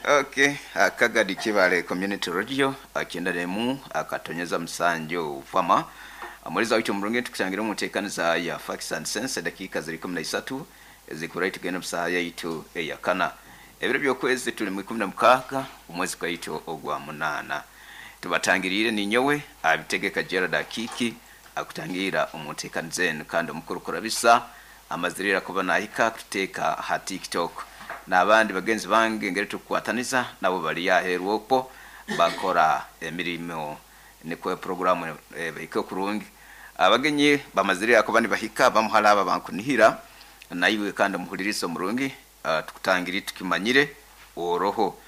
Okay, Kagadi Kibale Community Radio 91 akatonyeza 7 fama amuliza wicho murungi tukusangira mu nteekaniza ya Facts and Sense. Dakika ziri 13 zikurayi tugenda musaha yaitu eyakana. Ebiro by'okwezi tuli mu 16 omwezi gwaitu ogwa 8. Tubatangiriire ninyowe Abitegeka Gerald Akiki akutangira omu nteekaniza enu, kandi omukuru kurabisa amazirira kuba nahika kututeeka ha TikTok n'abandi bagenzi bange ngeri tukukwataniza nabo bali aheeru okwo bakora emirimo nikwo programu bahike kurungi. Abagenyi bamazirira kuba nibahika bamuhala aba bankunihira naiwe kandi omuhuliriza omurungi, tukutangiri tukimanyire oroho.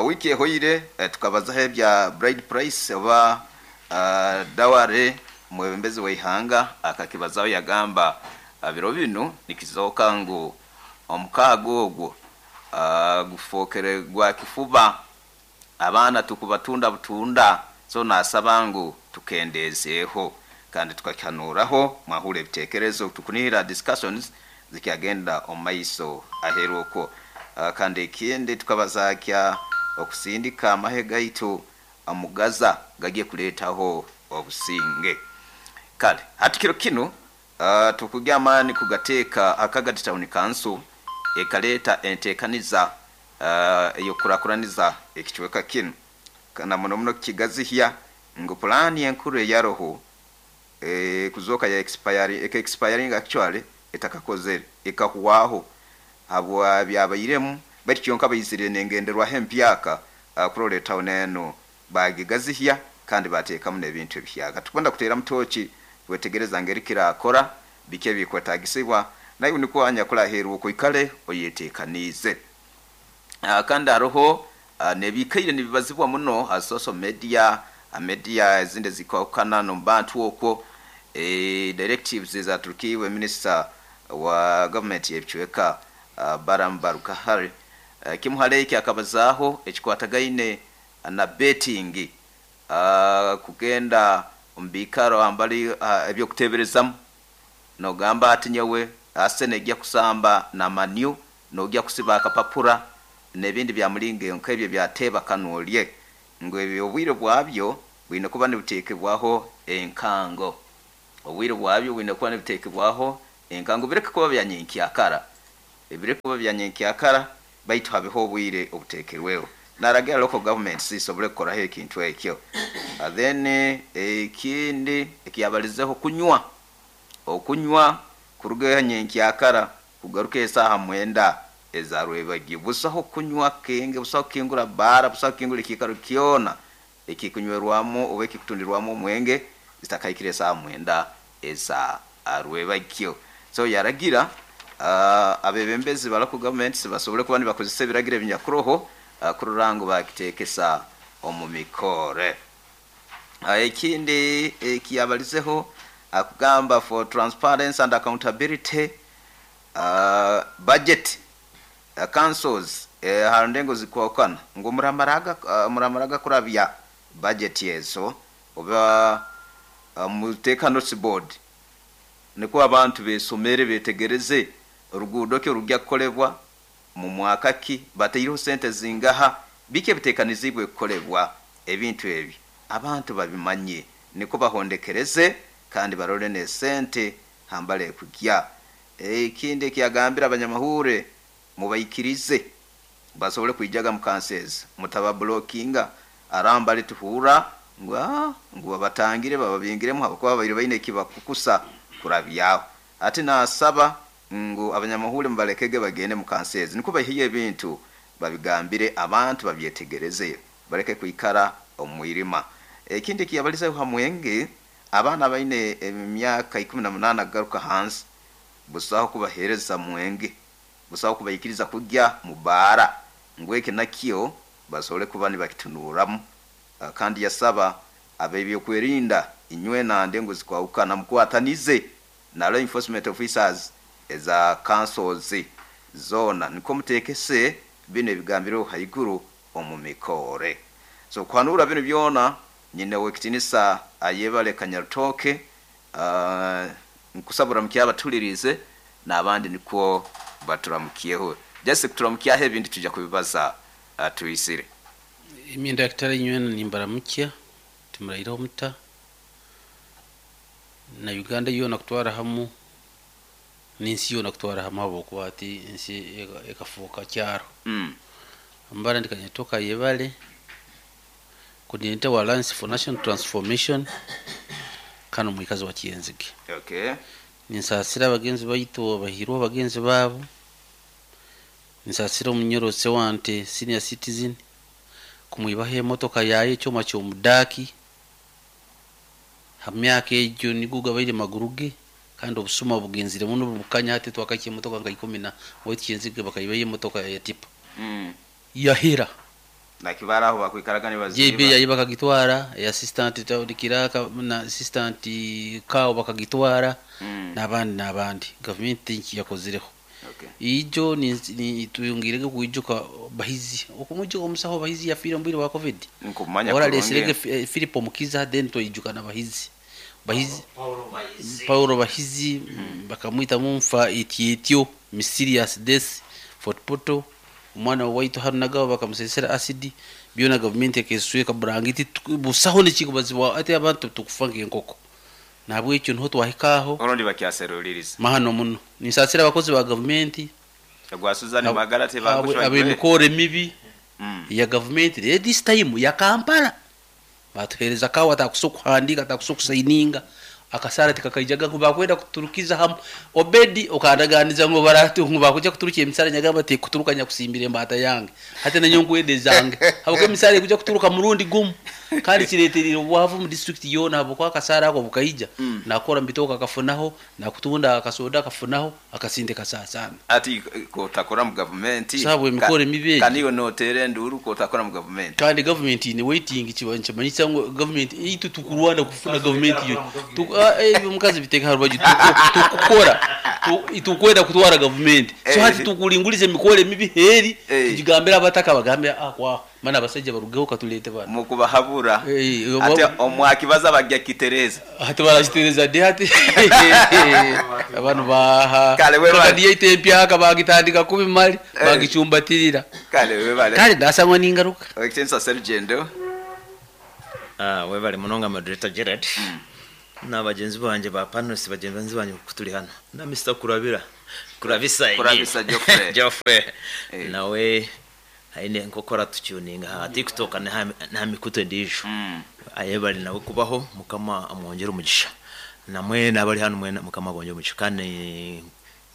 Wiki ehoire tukabazaho ebya bride price oba dowry. Mwebembezi w'eihanga akakibazaho, yagamba biro binu nikizooka ngu omukaaga ogwo gufookere gwa kifuba, abaana tukubatunda butunda. So nasaba ngu tukendeezeeho kandi tukakihanuraho. Mwahura ebiteekerezo, tukunihira discussions zikyagenda omu maiso aheeru okwo. Kandi ekindi tukabaza kya okusindika amahe gaitu omu Gaza gagiye kuleetaho obusinge. Kale hati kiro kinu tukugya amaani kugateeka Akagadi Town Council ekaleeta enteekaniza ey'okukurakuraniza ekicweka kinu na muno muno kikigazihya ngu pulaani enkuru eyaroho kuzooka ya expire, eka expiring actually etakakozere, ekahwaho habwa byabairemu, baitu kyonka baizire n'engenderwaho empyaka kurora etawuni enu bagigazihya kandi bateekamu n'ebintu ebihyaka. Tukwenda kuteeramu tooki kwetegereza ngeri kirakora, biki ebikwetagisibwa, naiwe nikwo anyakuli aheeru okwo oikale oyeteekaniize. Kandi haroho n'ebiikaire nibibazibwa muno ha social media, ha media ezindi ezikwahukana n'omu bantu okwo, directives ezaturukiibwe minisita wa gavumenti y'ebicweka Balaam Barugahare. Kimu hali eki akabazaaho ekikwatagaine na betting, kugenda omu biikaro hambali ebyokuteeberezamu nogamba ati nyowe Arsenal ejja kusamba na Manu, nojya kusiba akapapura n'ebindi bya mulingo nk'ebyo byateeba kanu olye, ngu ebyo obwire bwabyo bwine kuba nibuteekebwaho enkango, obwire bwabyo bwine kuba nibuteekebwaho enkango, bireke kuba bya nyenkyakara, bireke kuba bya nyenkyakara, baitu habeho obwire obuteekerweho. Naragira local government zisobole kukoraho ekintu ekyo. Then ekindi ekiyabalizeho kunywa, okunywa kuruga nyenkyakara kugaruka esaaha 9 eza rwebagyo, busaho kunywa kenge, busaho kukingura baara, busaho kukingura ekiikaro kyona ekikunywerwamu oba ekikutundirwamu omwenge zitakahikire esaaha 9 eza rwebagyo. So yaragira abebembezi ba local governments basobole kuba nibakozesa ebiragiro ebinyakuroho kurora ngu bakiteekesa omu mikore. Ekindi ekiyabalizeho akugamba for transparency and accountability, budget councils ha ndengo zikwahukana ngu muramaraga kurabya budget ezo oba muteeka notice board nikwo abantu besomere betegereze oruguudo ki orujya kukolebwa mu mwaka ki, bataireho sente zingaha, biki ebiteekanizibwe kukolebwa. Ebintu ebi abantu babimanye nikwo bahondekereze kandi barole n'esente hambale ekugya. Ekindi ekiyagambire abanyamahure, mubaikirize basobole kwijaga mu councils, mutababulokinga arambali tuhurra ngu ngu babatangire bababingiremu habwokuba babaire baine ekibakukusa kurabyaho. Ati nasaba ngu abanyamahure mubalekege bagende mu councils nikwo baiheyo ebintu babigambire abantu babyetegereze, baleke kwikara omu mwirima. Ekindi ekiyabalizeho ha mwenge, abaana baine emyaka 18 kugaruka hansi busaho kubaheereza mwenge, busaho kubaikiriza kujya mu baara, ngu eki nakyo basobole kuba nibakitunuramu. Kandi yasaba ab'ebyokwerinda inywena ndengo zikwahukana mukwatanize na law enforcement officers eza councils zoona nikwo muteekese binu ebigambireho haiguru omu mikore. So kuhanura binu byona nyine ow'ekitinisa Ayebare Kanyarutoke, nkusaba oramukye abatuliriize n'abandi nikwo baturamukyeho. Just kuturamukyaho, ebindi tujja kubibaza. Atwisire. Imyenda kitari nywena nimbaramukya timuraire omuta na Uganda yoona kutwara hamu n'ensi yoona kutwara hamu habwokuba ati ensi ekafuuka kyaro. Mbara ndikanyetoka yebale coordinator wa Alliance for National Transformation kano mwikazi wa Kyenzige. Okay. Ninsasira abagenzi baitu abahirwa abagenzi baabo, ninsasira omunyoro Sewante senior citizen kumwibaho emotoka yaye ekyoma ky'omudaaki ha myaka egyo nigwo gabaire maguru ge kandi obusuma bugenzire muno bukanya hati twakakya emotoka nka 10 na waitu Kyenzige bakaibayo emotoka ya tipa. Yahera Nakibara aho bakwikaraga nibaziba. JB yayi bakagitwara, assistant Daudi Kiraka na assistant Kao bakagitwara. N'abandi government yakozireho. Okay. Ijo ni tuyungirege kuijuka Bahizi okumujuka omusaho Bahizi yafire mbiri wa COVID nkumanya ora leserege Philip Mukiza then toijuka na Bahizi Paulo Bahizi. Bakamwita mumfa itietio mysterious death Fort Portal omwana waitu hano nagawa bakamusesera acid byona government ekesweka burangiti busaho nekikubazibwa ati abantu tukufa nk'enkoko nabwekyo niho twahikaho orundi bakyaseruliriza mahano muno ninsasira abakozi ba gavumenti gwa Suzani Magara tebagushwa ab'emikoro emibi ya gavumenti. Rero this time ya Kampala batuhereza kawa atakusa okuhandika atakusa okusaininga akasara tikakaijaga ngu bakwenda kuturukiza hamu Obedi okandaganiza ngu baratu ngu bakuja kuturukia emisara nyagamba ti kuturuka nyakusimbira embata yange hati nanyo nkwende zange habwo emisara ekuja kuturuka murundi gumu kandi kireterire obwavu mu district yona habwo akasara ako bukaija. Nakora mbitoka akafunaho nakutunda akasoda akafunaho akasinde kasasana ati kotakora mu government Sabu emikoro emibi egyo. Kaniyo notere nduru kotakora mu government kandi government ine waiting kiba nkimanyisa ngu government itu tukurwana kufuna government yo omukazi biteka harubaju tukukora tukwenda kutwara government so hati tukulinguliza emikoro emibi heri tugigambira abataka bagambe kwa mana abasajja barugeho katulete bana mukubahabura ate omwakibaza bajja kitereza hati barakitereza de hati abantu baha Kale we kadi yaite empyaka bagitandika kubi mali bagicumbatirira kale we bale kale ndasangwa n'ingaruka Extensa Sergendo webale munonga moderator Gerard n'abagenzi banje ba panelists bagenzi banje kutuli hano na Mr. Kurabira Kurabisa Kurabisa Geoffrey. Geoffrey nawe haine nkokora tutuninga ha TikTok na mikuto ndijo ayebali nawe kubaho mukama amwongera umugisha namwe nabari hano mwe mukama abongera umugisha kandi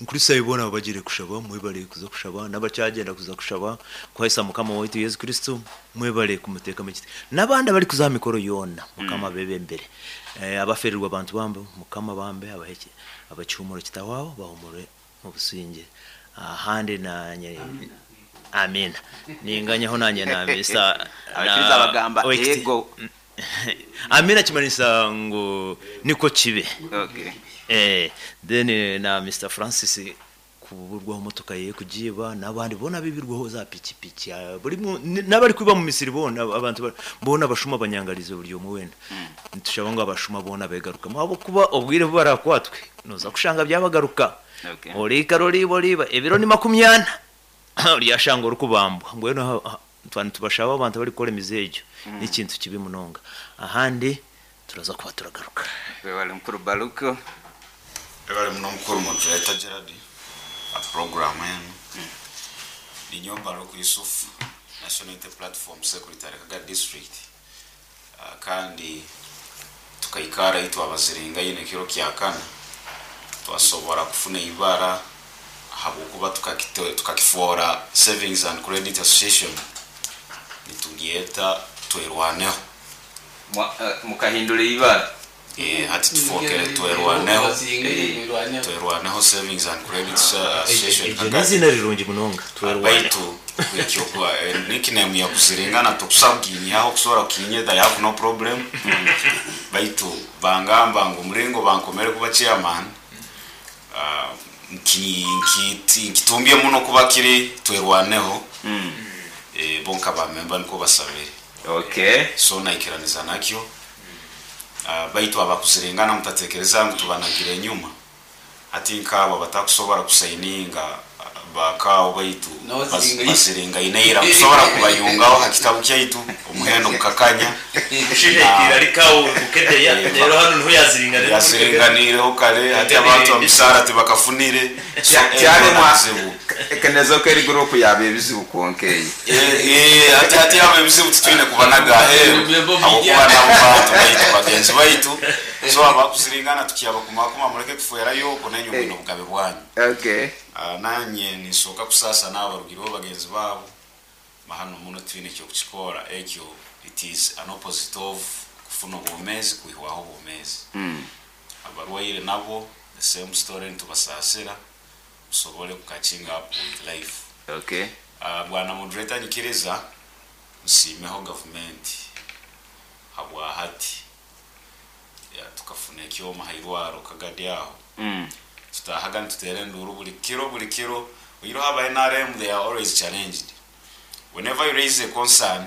nkurisa ibona bagire kushaba mwebale kuza kushaba n'abacyagenda kuza kushaba kwahisa mukama waitu Yesu Kristo mwebale kumuteka mu kiti n'abandi abari kuza mikoro yona mukama bebe mbere abaferirwa abantu bambe mukama bambe abaheke abacyumuro kitawabo bahumure mu businge ahandi nanye amina ninganyaho nanye na Mr. Abakiriza bagamba ego amina kimanisa ngo niko kibe. Okay. Then na Mr. Francis kuburwaho motoka ye kujiba nabandi bona bibirwaho za pikipiki buri nabari kuba mu Misiri bona abantu bona bashuma abanyangarizo buri umwe wenda ntushaba ngo abashuma bona begaruka abo kuba obwire barakwatwe noza kushanga byabagaruka. Okay. Orika rori boriba ebiro ni 40 ryashanga urukubambwa ngweno twantu tubashaba abantu bari kora imizejo n'ikintu kibi munonga ahandi turaza kuba turagaruka. Webale mukuru Baluko. Webale muno mukuru moderator Gerard a program eno ninyo Baluko Yusuf National Unity Platform Secretary Kaga District kandi tukaikara itu abaziringa yine kiro kyakana twasobora kufuna ibara habwokuba tukakifora Savings and Credit Association nitugieta twerwaneho mukahindura ibara hati tufokere twerwaneho twerwaneho Savings and Credit Association N'izina rirungi munonga twerwaneho baitu ekyo nickname ya kuziringana tukusabwinyaho kusobora kukinyeta I have no problem baitu bangamba ngo muringo bankomere kuba chairman nkitumbye muno kuba kiri twerwaneho bonka ba member niko basabire. Okay. So naikiraniza nakyo baitu abakuzirengana mutatekereza ngu tubanagire nyuma ati nkabo batakusobora kusaininga Bakaawo baitu baziringaine ira kusobora kubayungaho ha kitabu kyaitu omuhendo gukakanya. Yaziringaniireho kare hati abantu emisaara tibakafunire. So Kyaremwa ekenezo eri gurupu yaba ebizibu kwonka eyi. Hati hati abo ebizibu titwine kubanaga aheeru habwokuba nabo bantu baitu bagenzi baitu. So abakuziringana tukyabakumakuma muleke kufwerayo okwo nainywe mwine obugabe bwanyu. Okay. Nanye ninsooka kusaasa n'abarugireho bagenzi baabo mahano muno twine ekyokukikora ekyo. It is an opposite of kufuna obwomeezi kwihwaho obwomeezi. Abarwaire nabo the same story, nitubasaasira musobole kucatching up with life. Okay. Bwana moderator, nyikiriza nsiimeho gavumenti habwa hati ya, tukafuna ekyoma hairwaro Kagadi aho. Tutahaga nituteera enduru buli kiro buli kiro. Oiroho aba NRM, they are always challenged whenever you raise a concern.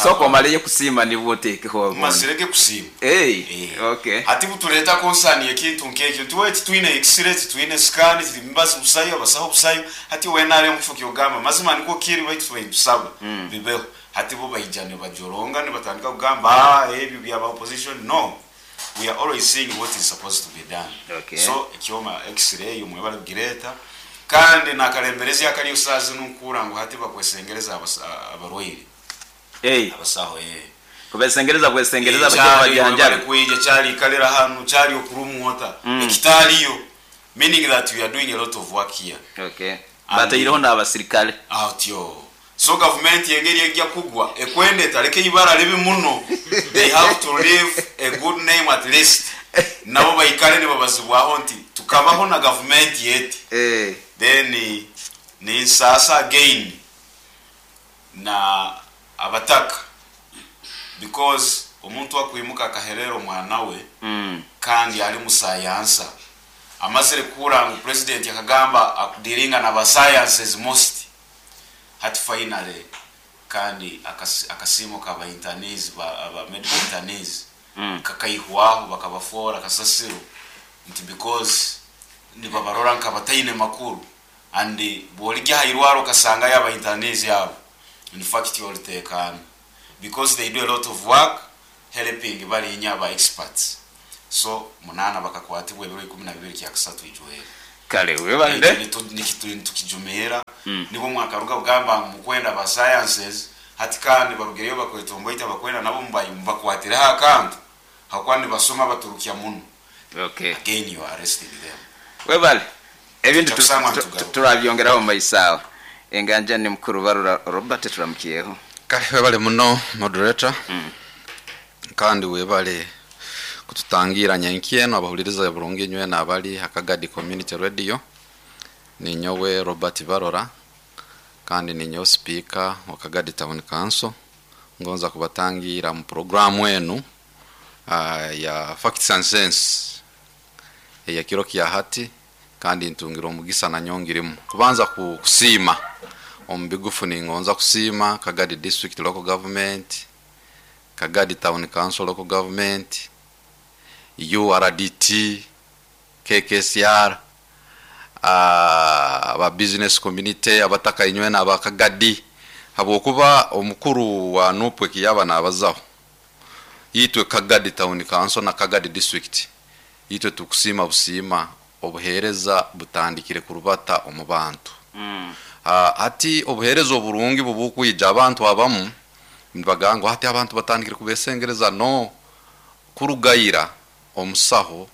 Sooka omaleyo kusiima nibwo oteekeho obundi. Mazirege kusiima. Hey, Eh. okay. Hati butuleta concern yekintu nkekyo ntiwe titwine x-ray, titwine scan, timibazi busayo, abasaho busayo. Hati we NRM kifo kyogamba mazima niko kiri, baitu tubayitusaba bibeho. Hati bo baija nibajoronga nibatandika kugamba, "Ah, ebyo byaba opposition." No, we are always seeing what is supposed to be done. Okay. So ekyoma x-ray mwebale kugireta, kandi nakalemberezi akaliyo saazi nukura ngu hati bakwesengereza abarwaire. Hey, abasaho, eh. kubesengereza bwesengereza Kyali, bakye bajanjabe. webale kwija kyali ikalira hanu kyali okurumwota ekitaliyo, meaning that we are doing a lot of work here. Okay. Bataireho n'abasirikale. Atyo so government yengeri ejja kugwa ekwenda etaleke ibara libi muno. They have to leave a good name, at least nabo baikale nibabazibwaho nti tukabaho na government yeti. Eh. Then ninsasa again na abataka, because omuntu akwimuka akaherera omwana we kandi ali musayansa amazire kuhura ngu president akagamba akudealinga na ba sciences most. Hati finally kandi akasiimo kaba internees, aba medical internees kakaihwaho, bakabafora kasasiro nti because nibabarora nkabataine makuru. And bwolijya hairwaro okasangayo aba internees abo, in fact olitekana, because they do a lot of work helping barinya aba experts. So munana bakakwatibwa ebiro 12 kyakasatu ijwere. Kale webale. Tukijumira nibwo mwakaruga kugamba ngu mukwenda ba sciences. Hati kandi barugireyo bakwetomboita bakwenda nabo mubakwatireho akantu hakuba nibasoma baturukya muno. Okay. Again you are arresting them. Webale. Ebintu Tujja kusangwa nitugaruka. turabyongeraho mu maiso. Enganja ni mukuru Barura Robert, turamukiyeho. Kale webale muno moderator, kandi webale kututangira nyenkyeno abahuliriza burungi nywe nabali Hakagadi Community Radio. Ninyowe Robert Barora kandi ninyowe speaker wa Kagadi Town Council. Ngonza kubatangira mu programu enu ya Facts and Sense eya kiro kya hati, kandi ntungira omugisa nanyongirimu kubanza kusiima omu bigufu. Ningonza kusiima Kagadi District Local Government, Kagadi Town Council Local Government, URDT, KKCR, aba business community, abataka inywe n'abakagadi, habwokuba omukuru wa NUP ekiyaba nabazaho itwe Kagadi Town Council na Kagadi District, itwe tukusiima busiima obuheereza butandikire kurubata omu bantu. Hati obuheereza oburungi bubukwija abantu abamu nibagamba hati abantu batandikire kubesengereza. No kurugayira omusaho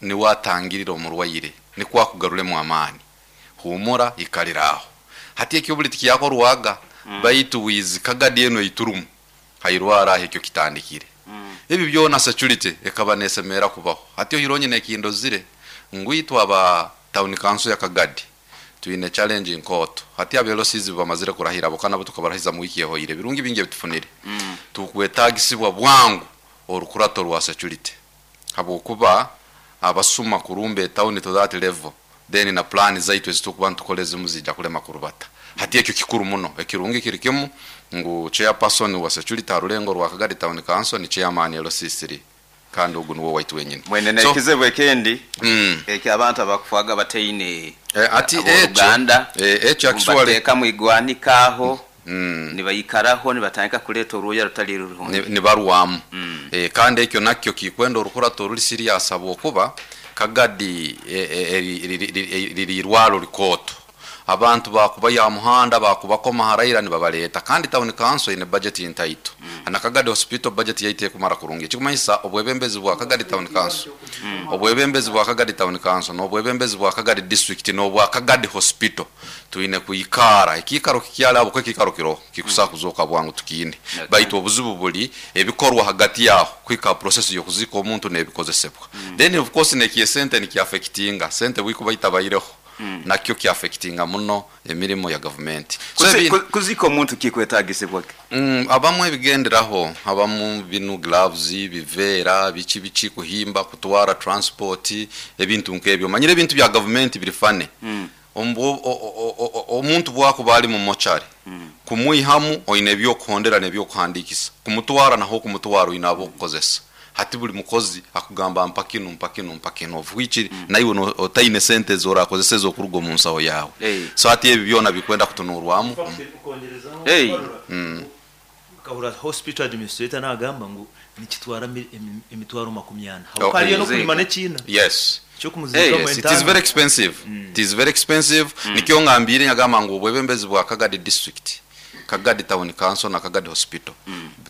niwe atangirira omurwaire, nikwo akugaruremu amaani, humura ikaliraho. Hati ekyo buli tikyakorwaga, baitu wizi Kagadi eno iturumu hairwara aho ekyo kitandikire. Ebi byona security ekaba nesemera kubaho. Hati ohironye nekindozire ngwitwa aba town council ya Kagadi twine challenge nkoto. Hati abelosizi bamazire kurahira bokana bo tukabarahiza mu wiki ehoire birungi bingi bitufunire. Tukwetagisibwa bwangu orukurato rwa security, habwokuba abasuma kurumba town to that level, then na plan zaitu ezitukuba ntukole zimu zijja kulema kurubata. Hati ekyo kikuru muno. Ekirungi kiri kimu ngu chairperson wa security harulengo rwa Kagadi Town Council ni chairman LC3, kandi ogu niwo waitu wenyini. Mwene So, nekizibu ekindi ekyo abantu abakufaga bataine. Ati ekyo Abooluganda ekyo actually bateeka mu igwanika aho, nibayikaraho, nibatandika kuleeta orwoya rutali rurungi. Nibarwamu. Kandi ekyo nakyo kikwenda orukurato ruri serious, habwokuba Kagadi riri irwaro rikooto, abantu bakuba ya muhanda bakubakoma haraira nibabaleta, kandi town council ine budget ntaito, na Kagadi Hospital budget yaite ekumara kurungi. Ekikumanyisa obwebembezi bwa Kagadi Town Council, obwebembezi bwa Kagadi Town Council n'obwebembezi bwa Kagadi District n'obwa Kagadi Hospital twine kwikara ekiikaro kikyali abo, ekiikaro kiroho kikusaa kuzooka bwangu tukiine. Baitu obuzibu buli ebikorwa hagati yaho kwika process y'okuzika omuntu n'ebikozesebwa. Then of course nekiye sente nikiaffectinga sente bwikuba itabaireho, nakyo kiaffectinga muno emirimo ya gavumenti. So Kuzika omuntu kikwetagisibwa ki? Abamu ebigenderaho, abamu binu gloves, biveera, biki biki, kuhimba, kutwara transport, ebintu nk'ebyo. Manyire ebintu bya gavumenti biri fane. Omuntu bwakuba ali mu mochari, kumwihamu oine ebyokuhondera n'ebyokuhandikisa, kumutwara naho kumutwara oine abokukozesa. Hati buli mukozi akugamba mpa kinu, mpa kinu, mpa kinu, of which naiwe otaine sente zorakozesa ezokuruga omu nsaho yawe. So hati ebi byona bikwenda kutunurwamu. Kahura hospital administrator nagamba ngu nikitwara emitwaro 40. Oh, Hariyo kuzika. nokulima n'ekiina kyokumuzika. Yes, it is very expensive. It is very expensive. Nikyo ngambire nyagamba ngu obwebembezi bwa Kagadi District, Kagadi Town Council na Kagadi Hospital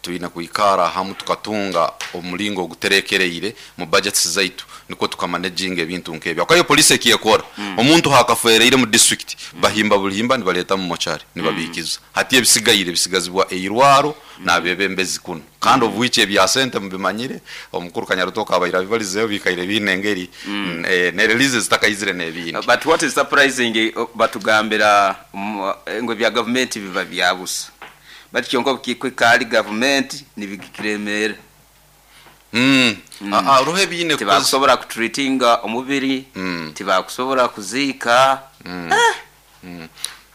tulina kwikara hamu tukatunga omulingo oguterekereire mu budgets zaitu, niko tukamanaginga ebintu nk'ebyo. Akayo police ekiyekora, omuntu hakafereire mu district, bahimba bulihimba nibaleta mu mochari nibabikiza. Hati ebisigaire bisigazibwa eirwaro n'abebembezi kuno, kandi of which ebya sente mubimanyire, omukuru Kanyarutoka abaira bibalizeyo bikaire biine engeri ne releases zitakaizire n'ebindi. But what is surprising, batugambira ngo bya gavumenti biba byabusa, but kyonka kikwika gavumenti nibikiremera. Ah, ah, roho ebiine Tibakusobola kutreatinga omubiri, tibakusobola kuziika.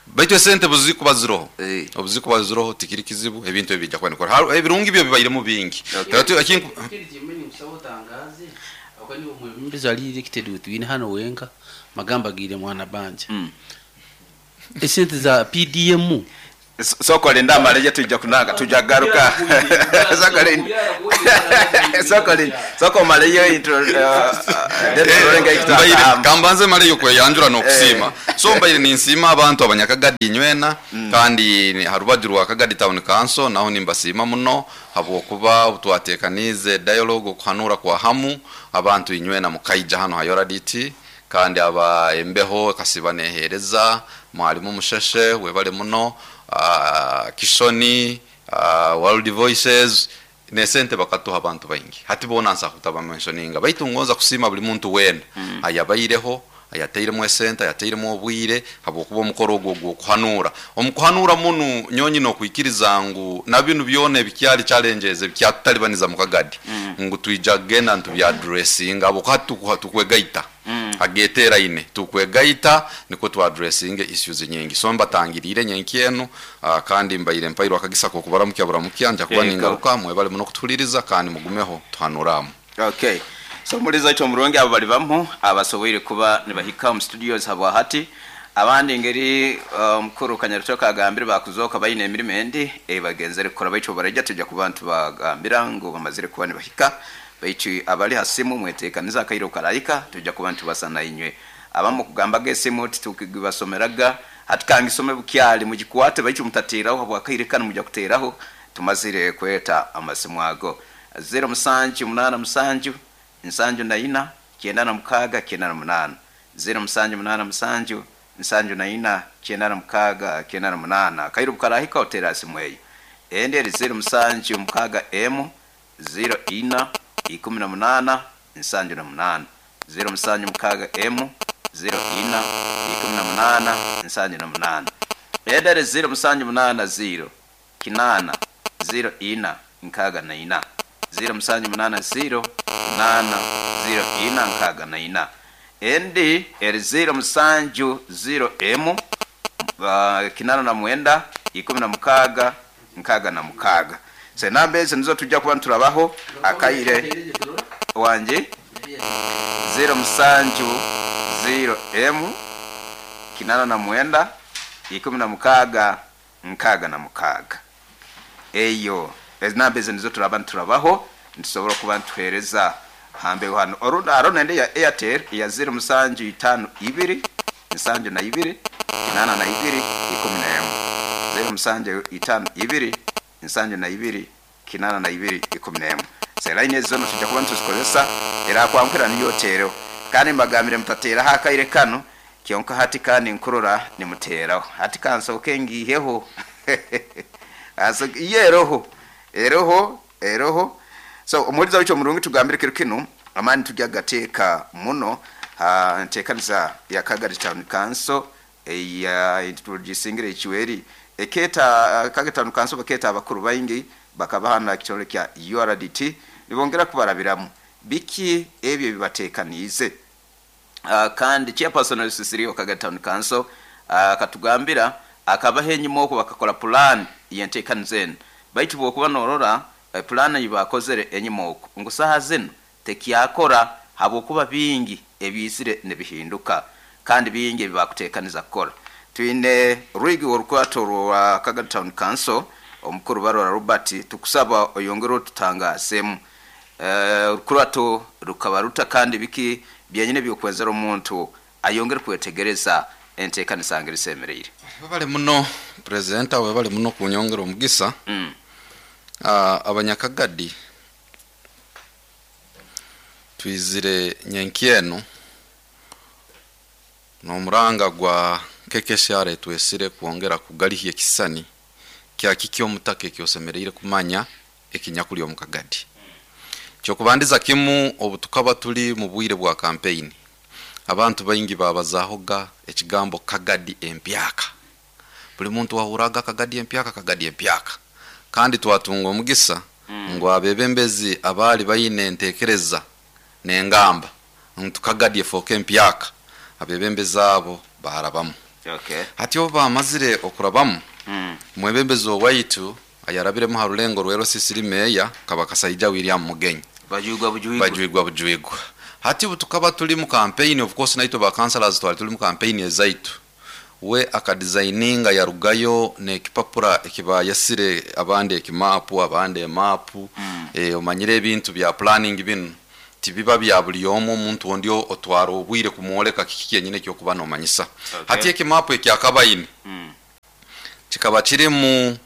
Baitu esente buzikuba ziroho, obuzikuba ziroho tikiri kizibu, ebintu ebi bijja kuba nikora. Ebirungi byo bibairemu bingi. Ikindi kimwe nkusaba utangaze ako ni omwebembezi ali elected wetwine hano wenka magamba gire mwana banja esente za PDM. Sokolinda amaleje, tujja kunanga, tujja garuka. Sokolinda, sokolinda, soko maleyo intro, then tulenga Mbaire kambanze maleyo kweyanjura n'okusiima. So mbaire ninsiima abantu abanyakagadi inywena, kandi harubaju rwa Kagadi Town Council naho nimbasiima muno, habwokuba twatekanize dialogue okuhanura kwa hamu abantu inywena mukaija hano hayoraditi, kandi aba embeho kasiba nehereza mwalimu Musheshe webale muno, Kishoni, World Voices nesente bakatuha abantu baingi. Hati bona nsa kutaba mentioninga, baitu ngonza kusiima buli muntu wena ayabaireho, ayateiremu esente, ayateiremu obwire, habwokuba omukoro ogwo ogw'okuhanura omukuhanura munu nyonyi nokwikiriza ngu na binu byona ebikyali challenges ebikyatutalibaniza mu Kagadi, ngu twija kugenda ntubyaddressinga, habwokuba tukwegaita ageteraine, tukwegaita niko twadressinge issues nyingi. So mbatangirire nyenki enu, kandi mbaire mpairwa akagisa kokubaramukya buramukya nja kuba ningaruka. Mwebale muno kutuhuliriza kandi mugumeho tuhanuramu. Okay, so muliza ekyo omurungi abo bali bamu abasoboire kuba nibahika mu studios habwa hati. Abandi ngeri omukuru Kanyarutoka agambire bakuzoka bayine emirimo endi ebagenzere kukora, baitu barajja tujja kuba ntubagambira ngu bamazire kuba nibahika. Baitu abali ha simu mwetekaniza akairo karayika tujja kuba ntubasana inywe. Abamu kugambaga esimu titukibasomeraga, hatukangisome bukyali mugikwate, baitu mutateraho habwakaire kanu mujja kuteraho tumazire kweta amasimu ago. 0 7 8 7 74 96 98, 0 7 8 7 74 96 98. Kairu bukarahika otera simu eyo. Endi eri 0 7 6 m 0 ina 18 78, 0 7 6 m 0 ina 18 78. Endi eri 0 7 8 0 8 0 ina 64, 0 7 8 0 8 0 ina 64. Endi eri 0 7 0 m 89 16 66. So enamba ezo nizo tujja kuba nturabaho akaire wanje. 0 7 0 m 89 16 66. Eyo ezinamba ezo nizo turaba niturabaho, nitusobora kuba nituhereza hambeho hano. Orunda haro nende ya Airtel ya 0752 72 82 11, 0752 72 82 11. Selaine ezo tujja kuba nituzikozesa era kwankwira niyo tero, kandi mbagambire mutateraho akaire kano kyonka hati kandi nkurora nimuteraho hati kansoke ngiheho iye eroho eroho eroho. So omuhuriza w'ekyo murungi tugambire kiro kinu amaani tujya gateeka muno nteekaniza ya Kagadi Town Council eya tugisingire ekiweri eketa Kagadi Town Council baketa abakuru baingi bakabahana ekitongole kya URDT nibongera kubarabiramu biki ebyo bibateekaniize. Kandi chairperson w'esisiri wa Kagadi Town Council akatugambira akabaho enyuma okwo bakakora plan yenteekaniza enu, baitu bwokuba norora plan yibakozere enyuma okwo ngu saha zinu tekyakora habwokuba bingi ebiizire nibihinduka kandi bingi ebibakuteekaniza kukora. Twine rwigi orukwato rwa Kagadi Town Council omukuru Barora Robert, tukusaba oyongere otutangaasemu orukurato rukaba ruta kandi biki byenyine byokwenzera omuntu ayongere kwetegereza enteekaniza ngeri esemereire. Webale muno presenter, webale muno kunyongera omugisa. Abanyakagadi twizire nyenkyeno n'omuranga gwa KKCR twesire kwongera kugalihya ekisani kya kiki omutaka ekyosemereire kumanya ekinyakuli omu Kagadi. Kyokubandiza kimu, obu tukaba tuli mu bwire bwa campaign, abantu baingi babazahoga ekigambo Kagadi empyaka. Buli muntu wahuraga Kagadi empyaka, Kagadi empyaka. Kandi twatunga omugisa ngu abebembezi abali bayine entekereza n'engamba ngu Kagadi efoke empyaka, abebembezi abo barabamu. Hati obu bamazire okurabamu, mwebembezi owaitu ayarabiremu ha rulengo rwero sisiri meya kaba Kasaija William Mugenyi. Bajwigwa bujwigwa. Bajwigwa bujwigwa. Hati ubu tukaba tuli mu campaign, of course naitwe ba councillors twali tuli mu campaign ezaitu. We akadesigninga yarugayo n'ekipapura ekibayasire abandi ekimapu abandi emapu. Omanyire ebintu bya planning binu tibiba bya buli omu, omuntu ondi otwara obwire kumwoleka kiki kyenyine ekyokuba nomanyisa. Hati ekimapu ekyakabaine kikaba kirimu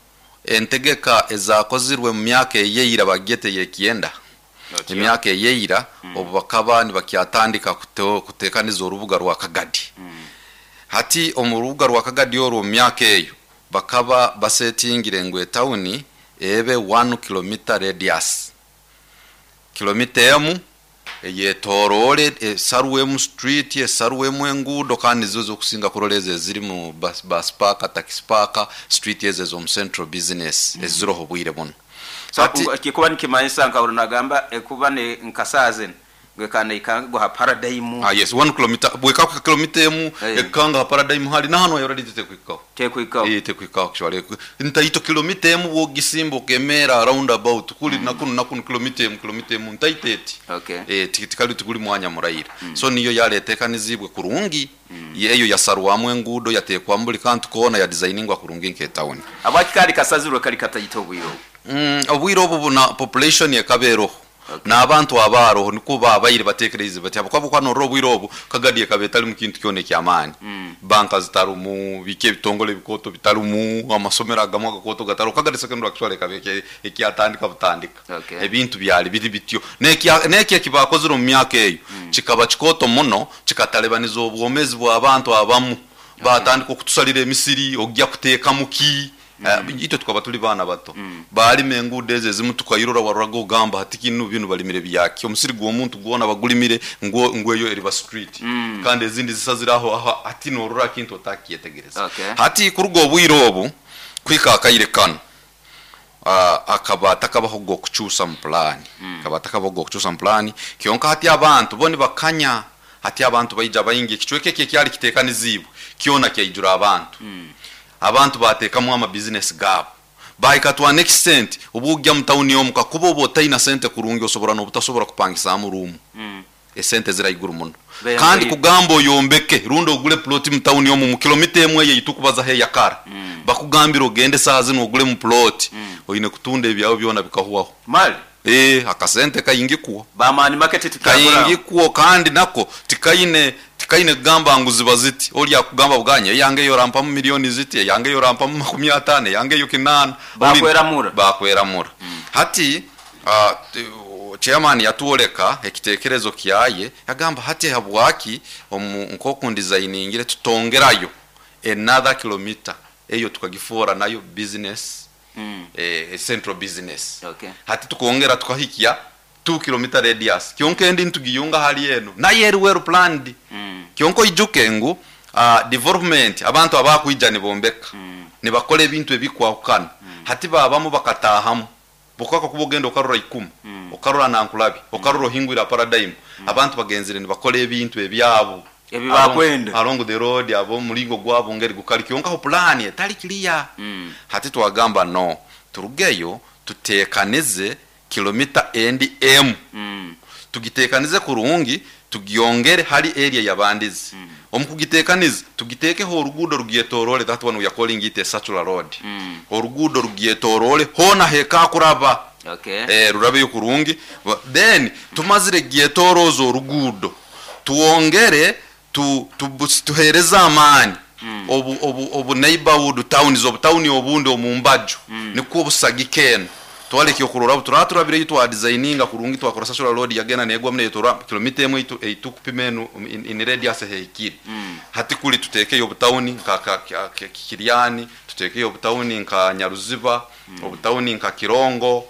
entegeka ezakozirwe mu myaka eyeira bagete yekyenda. Emyaka eyeira obu bakaba nibakyatandika kutekaniza orubuga rwa Kagadi. Hati omu rubuga rwa Kagadi orwo mu myaka eyo bakaba basetingire ngu etawuni ebe 1 kilometer radius, kilomita emu eyetorole esarwemu street esarwemu enguudo, kandi zizo zokusinga kurola ezo eziri mu bus park, taxi park, street ezo ez'omu central business eziroho bwire buno. So kikuba nikimanyisa nka nagamba ekuba ne nkasazen gwekana ikanga gwa paradigm. Yes, 1 kilometer bweka ku kilomita emu ekanga paradigm hali na hano already tekwikaho. Tekwikaho. Tekwikaho actually. Ntaito kilomita emu wogisimba okemera round about kuli nakunu nakunu kilomita emu ntaiteti. Tikali tukuli mwanya muraira. So niyo yaletekanizibwe kurungi. Yeyo yasarwamwe enguudo yatekwa mbuli kantu kona ya designingwa kurungi nke town. Abakikali kasazirwe kali katayito obwiro. Obwiro obu na population yekaberoho. N'abantu abaroho niko babaire batekereze bati abakwabo kwano obwiro obu Kagadi ekabetali mu kintu kyone kyamaani. Banka zitarumu, bike bitongole bikoto bitarumu, amasomero agamwe gakoto gataro. Kagadi secondary actually ekabeke ekyatandika butandika. Ebintu byali biri bityo. Neki ekibakozire mu myaka eyo kikaba kikoto muno kikatalebaniza obwomezi bw'abantu abamu. Batandika okutusalira emisiri ojja kuteeka muki. Itwe tukaba tuli baana bato. Balima enguudo ezo ezimu tukairora waruraga ogamba hati kinu binu balimire byaki, omusiri gw'omuntu gwona bagulimire ngweyo eriba street. Kandi ezindi zisaziraho aho ati norora kintu otakyetegereza. Hati kuruga obwire obu kwika akaire kano akaba takabaho gokuchusa mu plan. Akaba takabaho gokuchusa mu plan kyonka hati abantu boni bakanya, hati abantu baija baingi ekichweke eki ekyali kitekanizibwe kyona kyaijura abantu. Abantu batekamu ama business gabo baikatwa next cent obujja mu town yomu kakuba oba otaina sente kurungi osobora n'obutasobora kupangisa mu room. Esente ziri haiguru muno. Beyangoyire. Kandi kugamba oyombeke rundi ogule ploti mu tawuni omu mu kilomita emwe eyo eitukubazaho eyakara, bakugambira ogende saaha zinu ogule mu ploti, oine kutunda ebyawe byona bikahwaho. Mali Akasente kaingikwo. Bamani market tukyakora. Kaingikwo, kandi nako tikaine kugamba ngu ziba ziti. Oli akugamba buganye eyange yorampamu milioni ziti, eyange yorampamu 50, eyange yo 8. Bakweramura. Bakweramura. Hati chairman yatuoleka ekitekerezo kyaye, yagamba hati habwaki nkoku ndesigningire tutongerayo another kilometer eyo tukagifora nayo business, central business. Hati tukongera tukahikia 2 kilometer radius kyonka endi ntugiyunga hali eno naye eri well planned. Kyonka ijuke ngu development abantu abakwija nibombeka, nibakola ebintu ebikwahukana. Hati babamu bakatahamu bukaka kuba ogenda okarora 10, okarora nankulabi, okarora ohingwira paradigm. Abantu bagenzire nibakola ebintu ebyabo Ebi bakwenda. Along the road abo mulingo gwabo ngeri gukali kyonka ho plan etali clear. Hati twagamba no turugeyo tutekanize kilomita endi m. Tugitekanize kurungi, tugiongere hali area yabandizi. Omukugitekanize tugitekeho orugudo rugietorole, that one we are calling it a circular road. Orugudo rugietorole hona heka kuraba. Rurabe kurungi. Then tumazire gietorozo orugudo tuongere tuhereza amani. Obu neighborhood towns, obu town obundi omumbaju. Niko obusagikeno twaleke okurora turaturabire yitwa designinga kurungi twakora social road yagena negwa mne tora kilomita emwe itu kupima eno in radius hekiri. Hati kuli tutekeyo obutawuni nka Kiriani, tutekeyo obutawuni nka Nyaruziba, obutawuni nka Kirongo,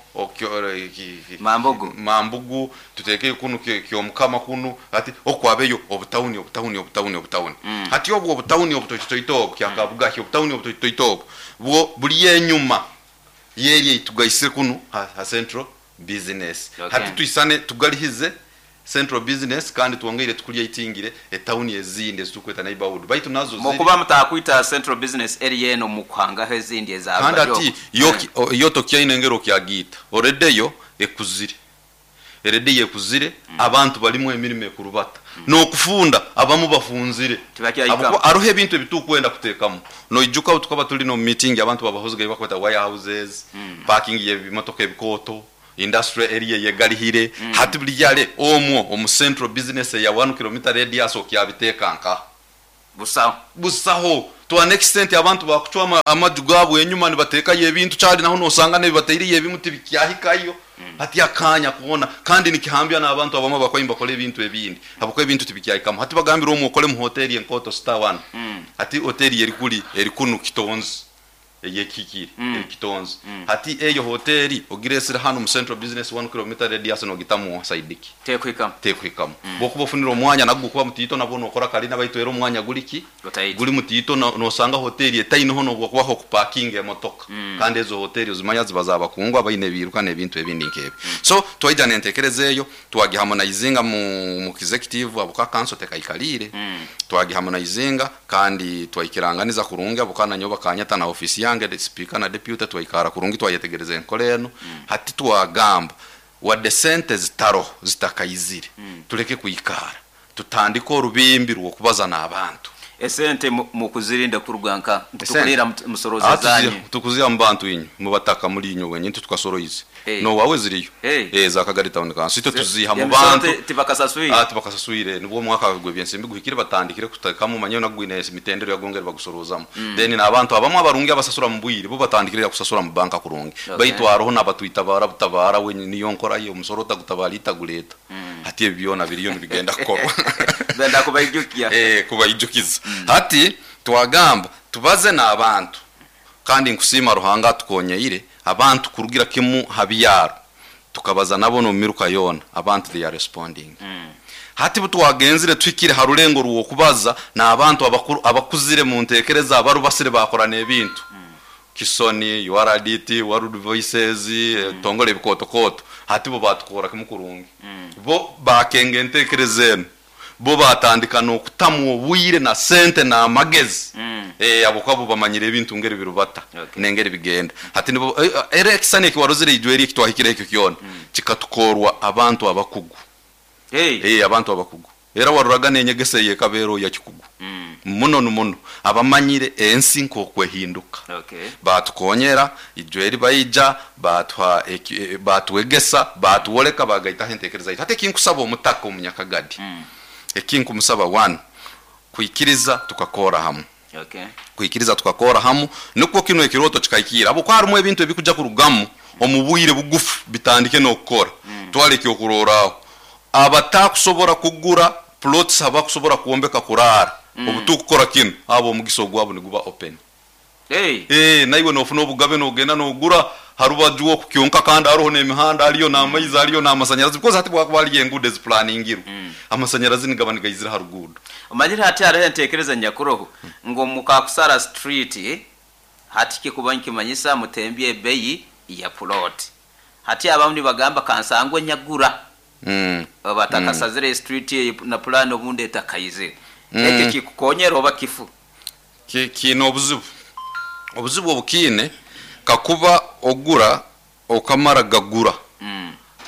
Mambugu. Mambugu, tutekeyo kunu Kyomukama kunu, ati okwabeyo obutawuni, obutawuni, obutawuni, obutawuni. Hati obwo obutawuni obutoitoito kyakabuga obutawuni obutoitoito bwo buli enyuma yeri itugaisire kunu ha central business. Hati tuisane tugalihize central business kandi tuongeire tukulya itingire etawuni ezindi ezitukweta neighborhood baitu nazo ziri Mukuba mutakwita central business area eno mukwanga ezindi eza kandi Abajo. ati yoto kyaine ngero kyagita already yo ekuzire already yekuzire. Abantu balimu emirimo ekurubata nokufunda abamu bafunzire. Tibakyaika. Abo aruhe ebintu ebitukwenda kutekamu noijuka tukaba tuli no meeting abantu babahozga bakweta warehouses, parking y'ebimotoka ebikoto, industrial area yegalihire. Hati buli yale omwo omu central business ya 1 kilometer radius okyabitekanka busaho busaho to an extent abantu bakuchwa amaju gabo enyuma nibateka ebintu cyali naho nosanga nebibateiriye ebimuti bikyahikayo. Hati akanya kuona kandi nikihambya n'abantu abamwe bakoyimba bakora ebintu ebindi abakora ebintu tibikyahikamo. Hati bagambira omwo okole mu hotel enkoto star 1. Hati hotel eri kuli eri kunu kitonzi eyekikiri kitonzi. Hati eyo hoteli ogiresera hano mu central business 1 kilometer radius no gitamu saidiki tekwikamo tekwikamo. Bokuba ofunira omwanya nagwo kuba mutito nabo nokora kali nabaitwera omwanya guliki Gutaiti. Guli mutito nosanga hoteli etainoho nobwo kubaho kuparking emotoka. Kandi ezo hoteli ozimanya ziba zabakungwa bayine biruka n'ebintu ebindi nkebe. So twaija nentekerezeyo twagiharmonizinga mu executive abo ka council tekaikalire. Twagiharmonizinga kandi twaikiranganiza kurungi abo kana nyoba kanyata na office yange de speaker na deputy twaikara kurungi twayetegereza enkole eno. Hati twagamba wadde sente zitaro zitakayizire. Tuleke kuikara tutandike orubimbi rw'okubaza n'abantu. Esente mu kuzirinda kuruganka Esente. tukulira musoroza zanyu. Tukuzira mu bantu inyu mu bataka muri inyu wenye tukasoroize. Hey. No wawe ziriyo. Hey. Za Kagari town council ito tuziha mu Emisoro bantu. tibakasasuire. Tibakasasuire nibwo mwaka gwe byensimbi guhikire batandikire kutakamu manyo nagwine mitendero yagongera bagusorozamo. Then n'abantu abamwe abarungi abasasura mu bwire bo batandikire kusasura mu banka kurungi. Baitu aroho n'abatwita barabutabara wenye niyo nkora yo musoro tagutabara itaguleta. Hati ebyona biriyo nibigenda kukorwa. Benda kubaijukia. Kubaijukiza. Hati twagamba tubaze n'abantu kandi nkusima Ruhanga tukonyeire abantu kurugira kimu habiyaro tukabaza nabo no miruka yona abantu they are responding. Hati butwagenzire twikire harulengo ruwo kubaza n'abantu abakuzire mu ntekereza abarubasire bakorana ebintu. Kisoni, URDT, World Voices, tongole bikotokoto. Hati bo batukora kimukurungi. Bo bakenge ntekereza eno. Bo batandika nokutamu obwire na sente na amagezi. Abo kwabo bamanyire ebintu ngeri birubata. Nengeri bigenda. Hati nibo era ekisani ekiwarozire ijwe eri ekitwahikire ekyo kyona. Kikatukorwa abantu abakugu. Hey. Abantu abakugu era waruraga n'enyegesa eyekabeero ya kikugu muno muno abamanyire ensi nk'okwehinduka. Okay. Batukonyera ijweri baija batwa batwegesa batuoleka bagaitaho entekereza yaitu. Hati ekinkusaba omutaka omunyakagadi, ekinkumusaba one, kwikiriza tukakora hamu. Okay. Kwikiriza tukakora hamu nukwo kino ekiroto kikaikira, abo harimu ebintu ebikuja kurugamu omu bwire bugufu bitandike n'okukora. Twale ekyokurorraho, abatakusobora kugura plots abakusobora kwombeka kurara, obutukukora kinu abo omugisa ogwabo niguba open. Hey. Naiwe nofuna obugabe nogenda nogura harubaju okukyonka, kandi hariho n'emihanda, hariyo n'amaizi, hariyo n'amasanyarazi, because hati bwakuba hariyo enguudo ezipulaningirwe, amasanyarazi nigaba nigaizira ha ruguudo. Omanyire hati hariho entekereza nyakuroho ngu mukakusara street hati kikuba nkimanyisa mutembye ebeyi ya plot. Hati abamu nibagamba kansangwe nyagura batakasazire street eyo na plan obundi etakaizire. Ekyo kikukonyera oba kifu? Kiine obuzibu. Obuzibu obukiine, kakuba ogura okamara gagura,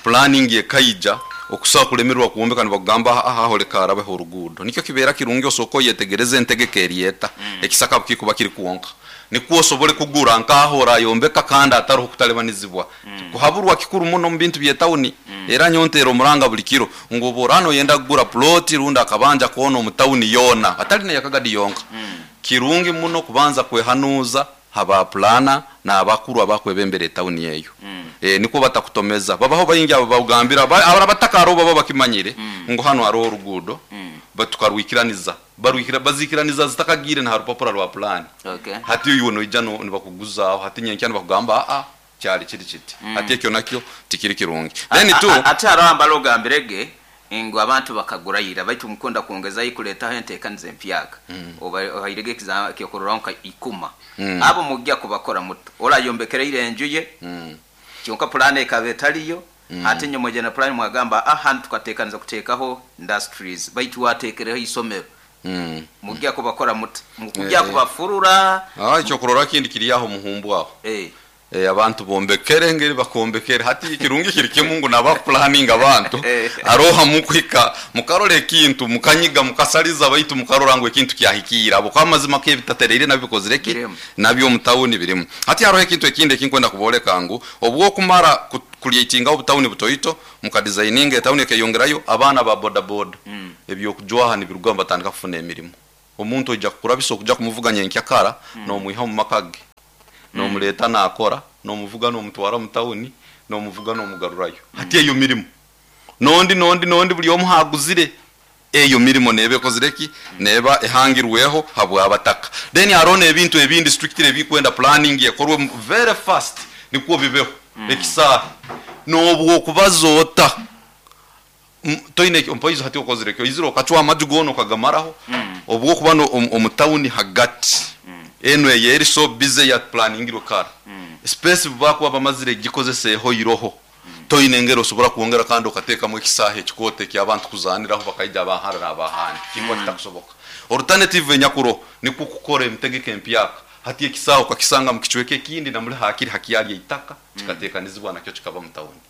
planning ekaija okusobola kulemerwa kuwombeka, nibakugamba aha aho leka harabeho oruguudo. Nikyo kibeera kirungi osooka oyetegereza entegeka eryeta ekisaka kikuba kiri kwonka, nikwo osobole kugura nkaho orayombeka kandi ataroho kutalebanizibwa. Kuhaburwa kikuru muno mu bintu by'etawuni. Era nyontera omuranga buli kiro ngu oba orano oyenda kugura ploti rundi akabanja koona omu tawuni yoona atali neyakagadi yonka, kirungi muno kubanza kwehanuuza haba plana n'abakuru abakwebembera etawuni eyo, nikwo batakutomeza. Babaho baingi abo bagambira abataka hariho baba bakimanyire ngu hano hariho oruguudo, batukarwikiraniza barwikira bazikiraniza zitakagire na harupapura rwa plan. Okay. Hati uyu noija nibakuguzaaho, hati nyenkya nibakugamba aa kyali kiri kiti. Hati ekyo nakyo tikiri kirungi. Then two, Ate hariho ambala ogambirege ngu abantu bakagurayira, baitu mukunda kwongezayo kuleetaho enteekaniza empyaka, oba ohairege ekyokurorraho nka ikuma. Abo mujja kubakora muto orayombekereire enju ye, kyonka pulaani ekaba etaliyo. Ate nyuma ojja na pulaani mwagamba hanu tukateekaniza kuteekaho industries, baitu wateekereho isomero. Mujja kubakora muto mukujja kubafurura? Ekyokurora kindi kiri aho muhumbu aho. Abantu bombekere ngeri bakombekere. Hati kirungi kiri kimu ngu nabapulaninga abantu aroha mukwika mukarora ekintu mukanyiga mukasaliza, baitu mukarora ngu ekintu kyahikira abo kwa mazima kebitatereire nabikozire ki Birimu. Nabyo omutawuni birimu. Hati haroho ekintu ekindi ekinkwenda kuboleka ngu obwokumara kucreatinga obutawuni butoito mukadesigninga etawuni ekeyongerayo, abaana ba boda boda ebyokujwaha nibiruga batandika kufuna emirimu. Omuntu oija kukurabisa okuja kumuvuga nyenkyakara, nomwiha omu maka ge nomuleta nakora, nomuvuga nomutwara mu tawuni, nomuvuga nomugarurayo. Hati eyo mirimo nondi nondi nondi buli omu haguzire eyo mirimo neba ekozire ki, neba ehangirweho habwabataka. Then hariho n'ebintu ebindi strictly ebikwenda planning ekorwe very fast nikwo bibeho. Ekisaaha nobwo okubaza ota toine mpoizo hati okozire kyo izire okacwa amaju goona okagamaraho, obwokuba omu tawuni hagati eno eyeri so busy ya planingirwe kara, space bakuba bamazire gikozeseho iroho, toine engeri osobola kwongera kandi okateekamu ekisaaha ekikooto eky'abantu kuzaniraho bakaija abahara n'abahandi, kikuba kitakusoboka. Alternative enyakuro nikwo kukora emitegeko empyaka. Hati ekisaaha okakisanga mu kicweka ekindi namuli hakiri hakyali eitaka, kikateekanizibwa nakyo kikaba mu tawuni.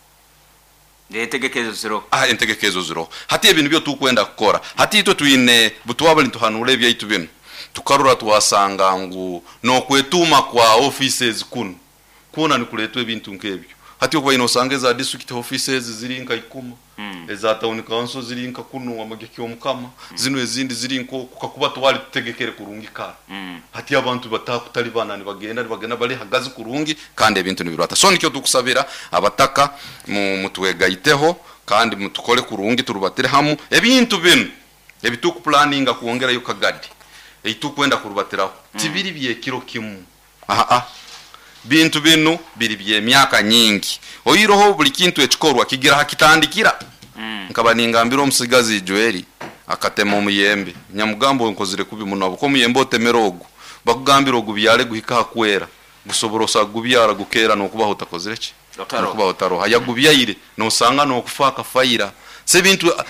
Entegeka ezo ziroho? Entegeka ezo ziroho. Hati ebintu byo tukwenda kukora, hati itwe twine butwabali nituhanura ebyaitu bino, tukarora twasanga ngu n'okwetuuma kwa offices kuno kwona nikuleetwa ebintu nk'ebyo. Hati okuba ine osanga eza district offices ziri nka ikuma, eza town council ziri nka kuno amageki omukama, zino ezindi ziri nkoku kakuba twali tutegekere kurungi kara. Hati abantu batakutalibana nibagenda nibagenda bali hagazi kurungi kandi ebintu nibirwata. So nikyo tukusabira abataka mutwegaiteho kandi mutukole kurungi, turubatire hamu ebintu bino ebitukuplaninga kwongerayo kagadi eitukwenda kurubatiraho. Tibiri byekiro kimu, aha bintu binu biri byemyaka nyingi. Oiroho buli kintu ekikorwa kigira hakitandikira. Nkaba ningambira omusigazi Joeli akatema omuyembe, nyamugambo nkozire kubi muno, abuko omuyembe otemera ogu bakugambira ogu byale guhika hakwera gusobora osa gubyara gukera nokubaho utakozire ki Otaroha. Nokubaho otaroha yagubyaire nosanga nokufa akafaira. Se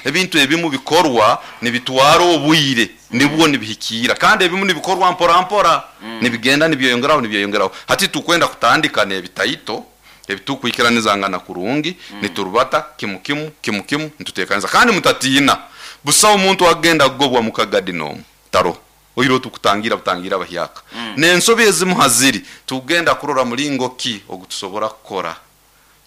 ebintu ebimu bikorwa nibitwara obwire nibwo nibihikira, kandi ebimu nibikorwa mpora mpora, nibigenda nibyeyongeraho nibyeyongeraho. Hati tukwenda kutandika n'ebitaito. Ebitukuikiranizangana kurungi, niturubata kimu kimu kimu kimu nitutekaniza. Kandi mutatiina, busaho omuntu agenda kugobwa mu Kagadi n'omu taro oiro tukutangira butangira abahyaka. N'ensobi ezimu haziri tugenda kurora mulingo ki ogutusobora kukora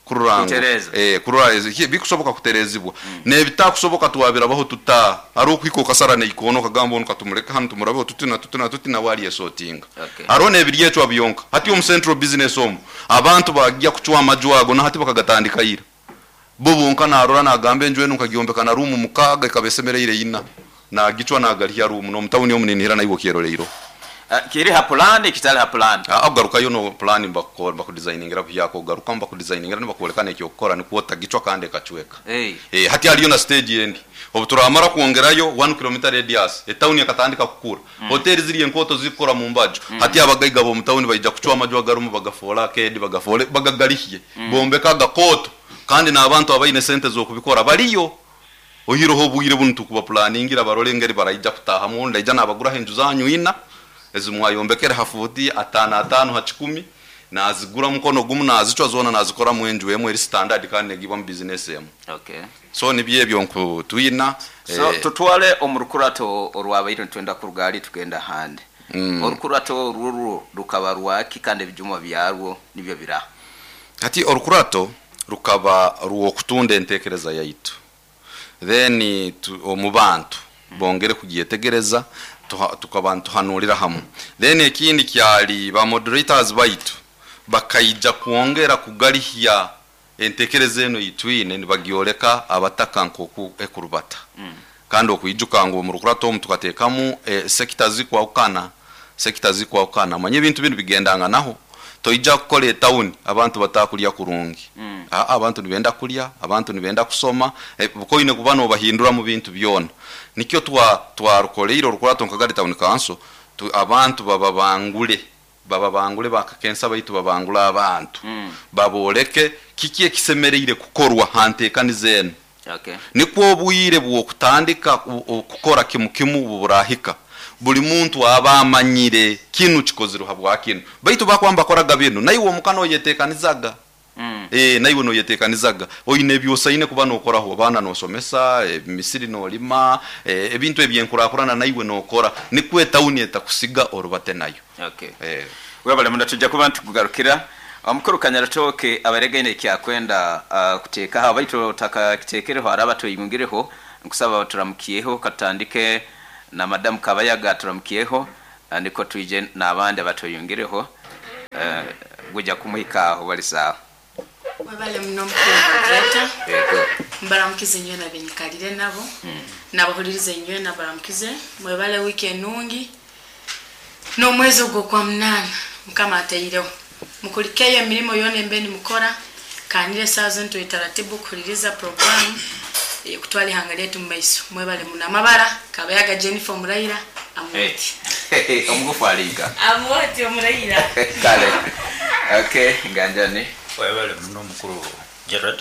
kurora ngu Kutereza. Kurora bikusoboka kuterezibwa. N'ebitakusoboka twabirabaho tuta ari okuhika okasara neikono okagamba onu katumuleke hanu tumurabeho tutina tutina tutina wali esotinga. Hariho n'ebiri ecwa byonka hati omu central business omu abantu bagya kucwa amaju ago na hati bakagatandika ira bo bonka narora nagamba enju enu nkagyombeka na ruumu 6 ikaba esemereire 4 nagicwa nagalihya ruumu n'omutawuni omu ninihira naiwe okyeroleiro. Kiri ha pulani kitali ha pulani? Okugarukayo no pulani bakudesigningira buhyaka, ogarukamu bakudesigningira nibakwoleka n'ekyokukora nikwo otagicwa kandi ekacweka. Hati haliyo na stage endi obu turamara kwongerayo 1 km radius etawuni ekatandika kukura. Hoteli ziri enkooto zikukora mu mbaju. Hati abagaiga b'omu tawuni baija kucwa amaju agarumu bagafoole arcade, bagafoole bagagalihye, bombeka agakooto kandi n'abantu abaine sente z'okubikora baliyo. Oihireho obwire bunu tukuba pulaningira barole engeri baraija kutahamu, ndaija nabaguraho enju zanyu 4 ezimwayombekere ha fuuti 5 5 ha 10 nazigura mukono gumu nazicwa zona nazikoramu enju emu eri standard kandi negibwamu business emu. So nibyo ebyo nkutwina. So tutwale omu rukurato orwabaire nitwenda kuruga hali tugenda ahandi. Orukurato orwo rukaba rwaki kandi ebijuma byarwo nibyo bira? Hati orukurato rukaba rw'okutunda entekereza yaitu. Then omu bantu bongere kugyetegereza, tukaba nituhanurira hamu. Then ekindi kyali ba moderators baitu bakaija kwongera kugalihya entekereza eno itwine nibagyoleka abataka nkoku ekurubata. Kandi okwijuka ngu omu rukurato omu tukatekamu sekita zikwahukana, sekita zikwahukana. Manye ebintu binu bigendanganaho. Toija kukora etawuni abantu batakulya kurungi. Abantu nibenda kulya, abantu nibenda kusoma, bukoine kuba nobahindura mu bintu byona. Nikyo twarukoleire orukurato nka Kagadi Town Council, abantu bababangule, bababangule bakakensa baitu babangule abantu. Baboleke kiki ekisemereire kukorwa hantekaniza eno. Nikwo obwire bw'okutandika kukora kimu kimu burahika. Buli muntu aba amanyire kinu kikozirwe habwa kinu. Baitu bakwamba bakoraga binu, naiwe omukano oyetekanizaga. Naiwe noyetekanizaga. Oine ebyosaine kuba nokoraho, abaana nosomesa, emisiri nolima, ebintu ebyenkurakurana naiwe nokora. Nikwo etawuni etakusiga orubate nayo. Webale muno, tujja kuba ntukugarukira. Omukuru Kanyarutooke abaregaine ekyakwenda kuteekaho, baitu otakakiteekereho araba tweyungireho, nkusaba turamukiyeho, katutandike na Madamu Kabayaga turamukiyeho, niko twije n'abandi abatweyungireho, gujja kumuhika bali saawa. Webale muno mukuru moderator. Mbaramukize nywe nabenyikalire nabo. Nabahulirize nywe nabaramukize. Mwebale wiki enungi. N'omwezi ogwo kwa 8 Mukama ateireho. Mukulikeyo emirimo yona embeni mukora, kanire saa zintu etaratibu kuhuliriza programu kutwala ihanga lyetu mu maiso. Mwebale muno amabara Kabayaga Jennifer Omuraira Amuoti. Omugufu alinga. Amuoti Omuraira. Kale. Okay, nganjani. Mwebale muno mukuru Gerard.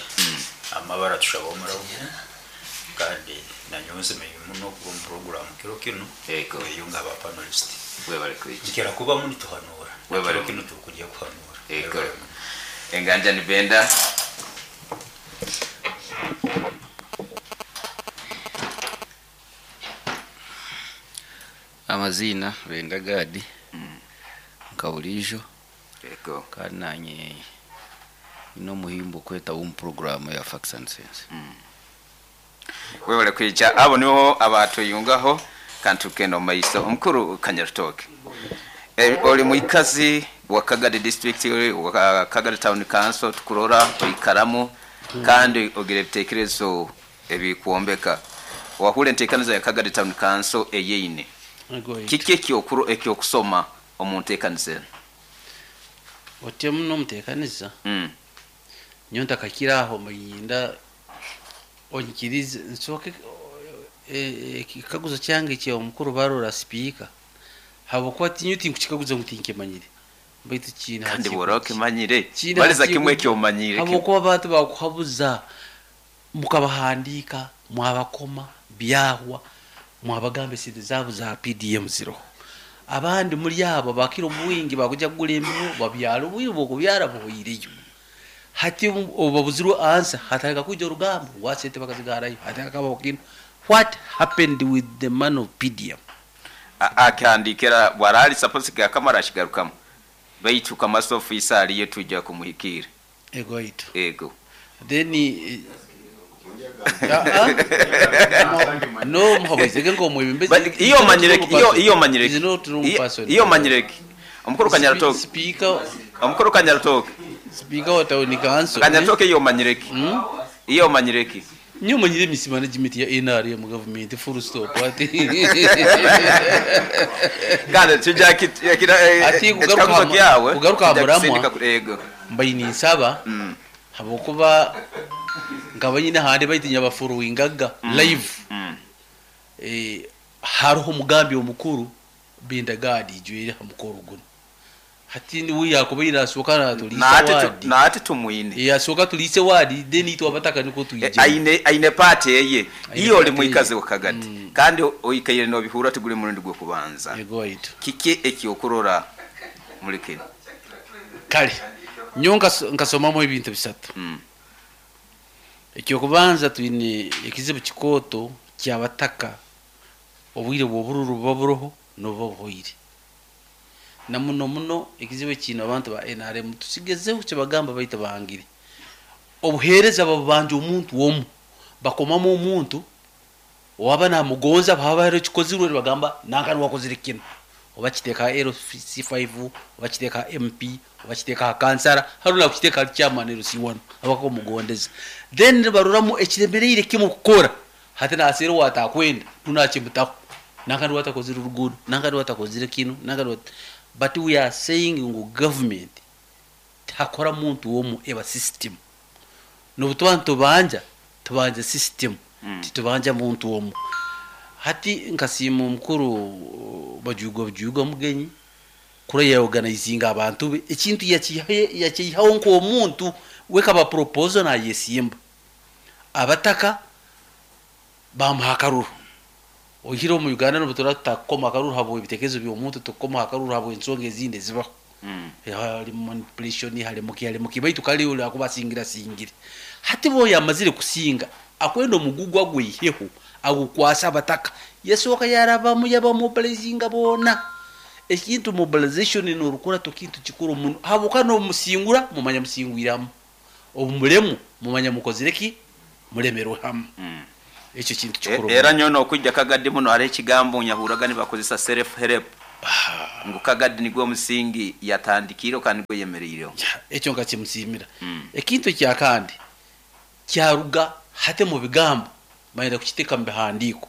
Amabara tushaba Omuraira. Kandi nanyonze muno kuba mu program kiro kino. Eyunga aba panelist. Mwebale kwija. Nkera kuba muni tuhanura. Mwebale kiro kino tukujya kuhanura. Enganjani Benda. Amazina Benda Gadi. Nkabulijo. Kandi nanye ino muhimbo kweta um program ya Facts and Sense. Webale kwija abo niho abatuyungaho kandi tukenda mu maiso. Omukuru Kanyarutooke. Oli muikazi wa Kagadi District, wa Kagadi Town Council, tukurora oikaramu kandi ogira ebitekerezo ebikuombeka. Wahule enteekaniza ya Kagadi Town Council eyeine. Kiki ekyokusoma omu nteekaniza eno? Otye muno omuteekaniza. Nyowe ntakakiraho muyinda onyikirize nsooke ekikaguzo kyange kya omukuru barora speaker. Habwokuba tinyo tinkukikaguza ngu tinkimanyire. Baitu kina kandi bw'oraba okimanyire, baliza kimwe ekyomanyire. Habwokuba abantu bakuhabuza mukabahandiika, mwabakoma, byahwa, mwabagamba esente zaabo za PDM ziroho. Abandi muri abo bakira obwingi bakujya kugura embibo babyara obwire bw'okubyara buhwireyo. Hati obabuzirwe ansa hataka kuja orugambo wasente bakazigarayo hataka kabaho kino. What happened with the man of PDM? Akandikira bwarali suppose gakamara ashigarukamu baitu kamaso officer aliyo tujja kumuhikira ego itu ego then no muhabwezege ngo mwebembezi iyo manyireki iyo manyireki iyo manyireki omukuru Kanyaratoke speaker omukuru Kanyaratoke speaker wa town council Kanyaratoke iyo manyireki iyo manyireki nyo manyire misi management ya NRM mu government full stop ati kandi tujya kira ati kugaruka muramwa mbayini nsaba habokuba ngaba nyine hande bayitinya bafollowingaga live hariho umugambi omukuru bindagadi ijwere hamukoro guno hati ni wiyakuba irasoka natulise wadi naate tumwine yasoka tulise wadi then itwa bataka niko tuyije aine pate yeye iyo oli mwikaze wakagati kandi oikaire no bihura tugule murundi gwo kubanza yego itu kike ekyokurora muri kino kale nyo nkasomamo ebintu bisatu ekyokubanza twine ekizibu kikoto kyabataka obwire bw'obururu buba buroho nobuba buhoire na muno muno ekizibu kino abantu ba NRM tusigezeho kyebagamba baita bangire obuheereza babubanja omuntu omu bakomamu omuntu owaba namugonza baba hariho kikozirwe bagamba nankani wakozire kino oba kiteeka LC5 oba kiteeka MP oba kiteeka kansara haruna kiteeka chairman LC1 abako mugondeza then baruramu ekiremereire kimu kukora hati nasero watakwenda tunachimutaho nankani watakozire urugudo nankani watakozire kino nankani but we are saying ngu government takora muntu womu eba system nobutuba tubanja tubanja system titubanja muntu womu hati nkasiima omukuru bajugwa mugenyi kura ya organizinga abantu be ekintu yakihaho nk'omuntu wekaba proposal nayesimba abataka bamuha akaruru ohire omu Uganda nobutura tutakoma akaruru habwe ebitekerezo by'omuntu tukoma akaruru habwe ensonga ezindi ezibaho hari manipulation hari muki hari muki baitu kali uli akubasingira singire hati bo yamazire kusinga akwenda omugugwa gwiheho agukwasa abataka yesoka yarabamu yabamobilizinga bona ekintu mobilization norukora tokintu kikuru muno habuka no musingura mumanya musingwiramu obumulemu mumanya mukozireki mulemerwe hamu ekyo kintu kikuru era nyono okujja Kagadi muno hari ekigambo nyahuraga nibakozesa self help ngo Kagadi nigwo musingi yatandikiro kandi gwe yemereireho ekyo nkakimusimira ekintu kya kandi kyaruga hate mu bigambo mayira kukiteka mu bihandiko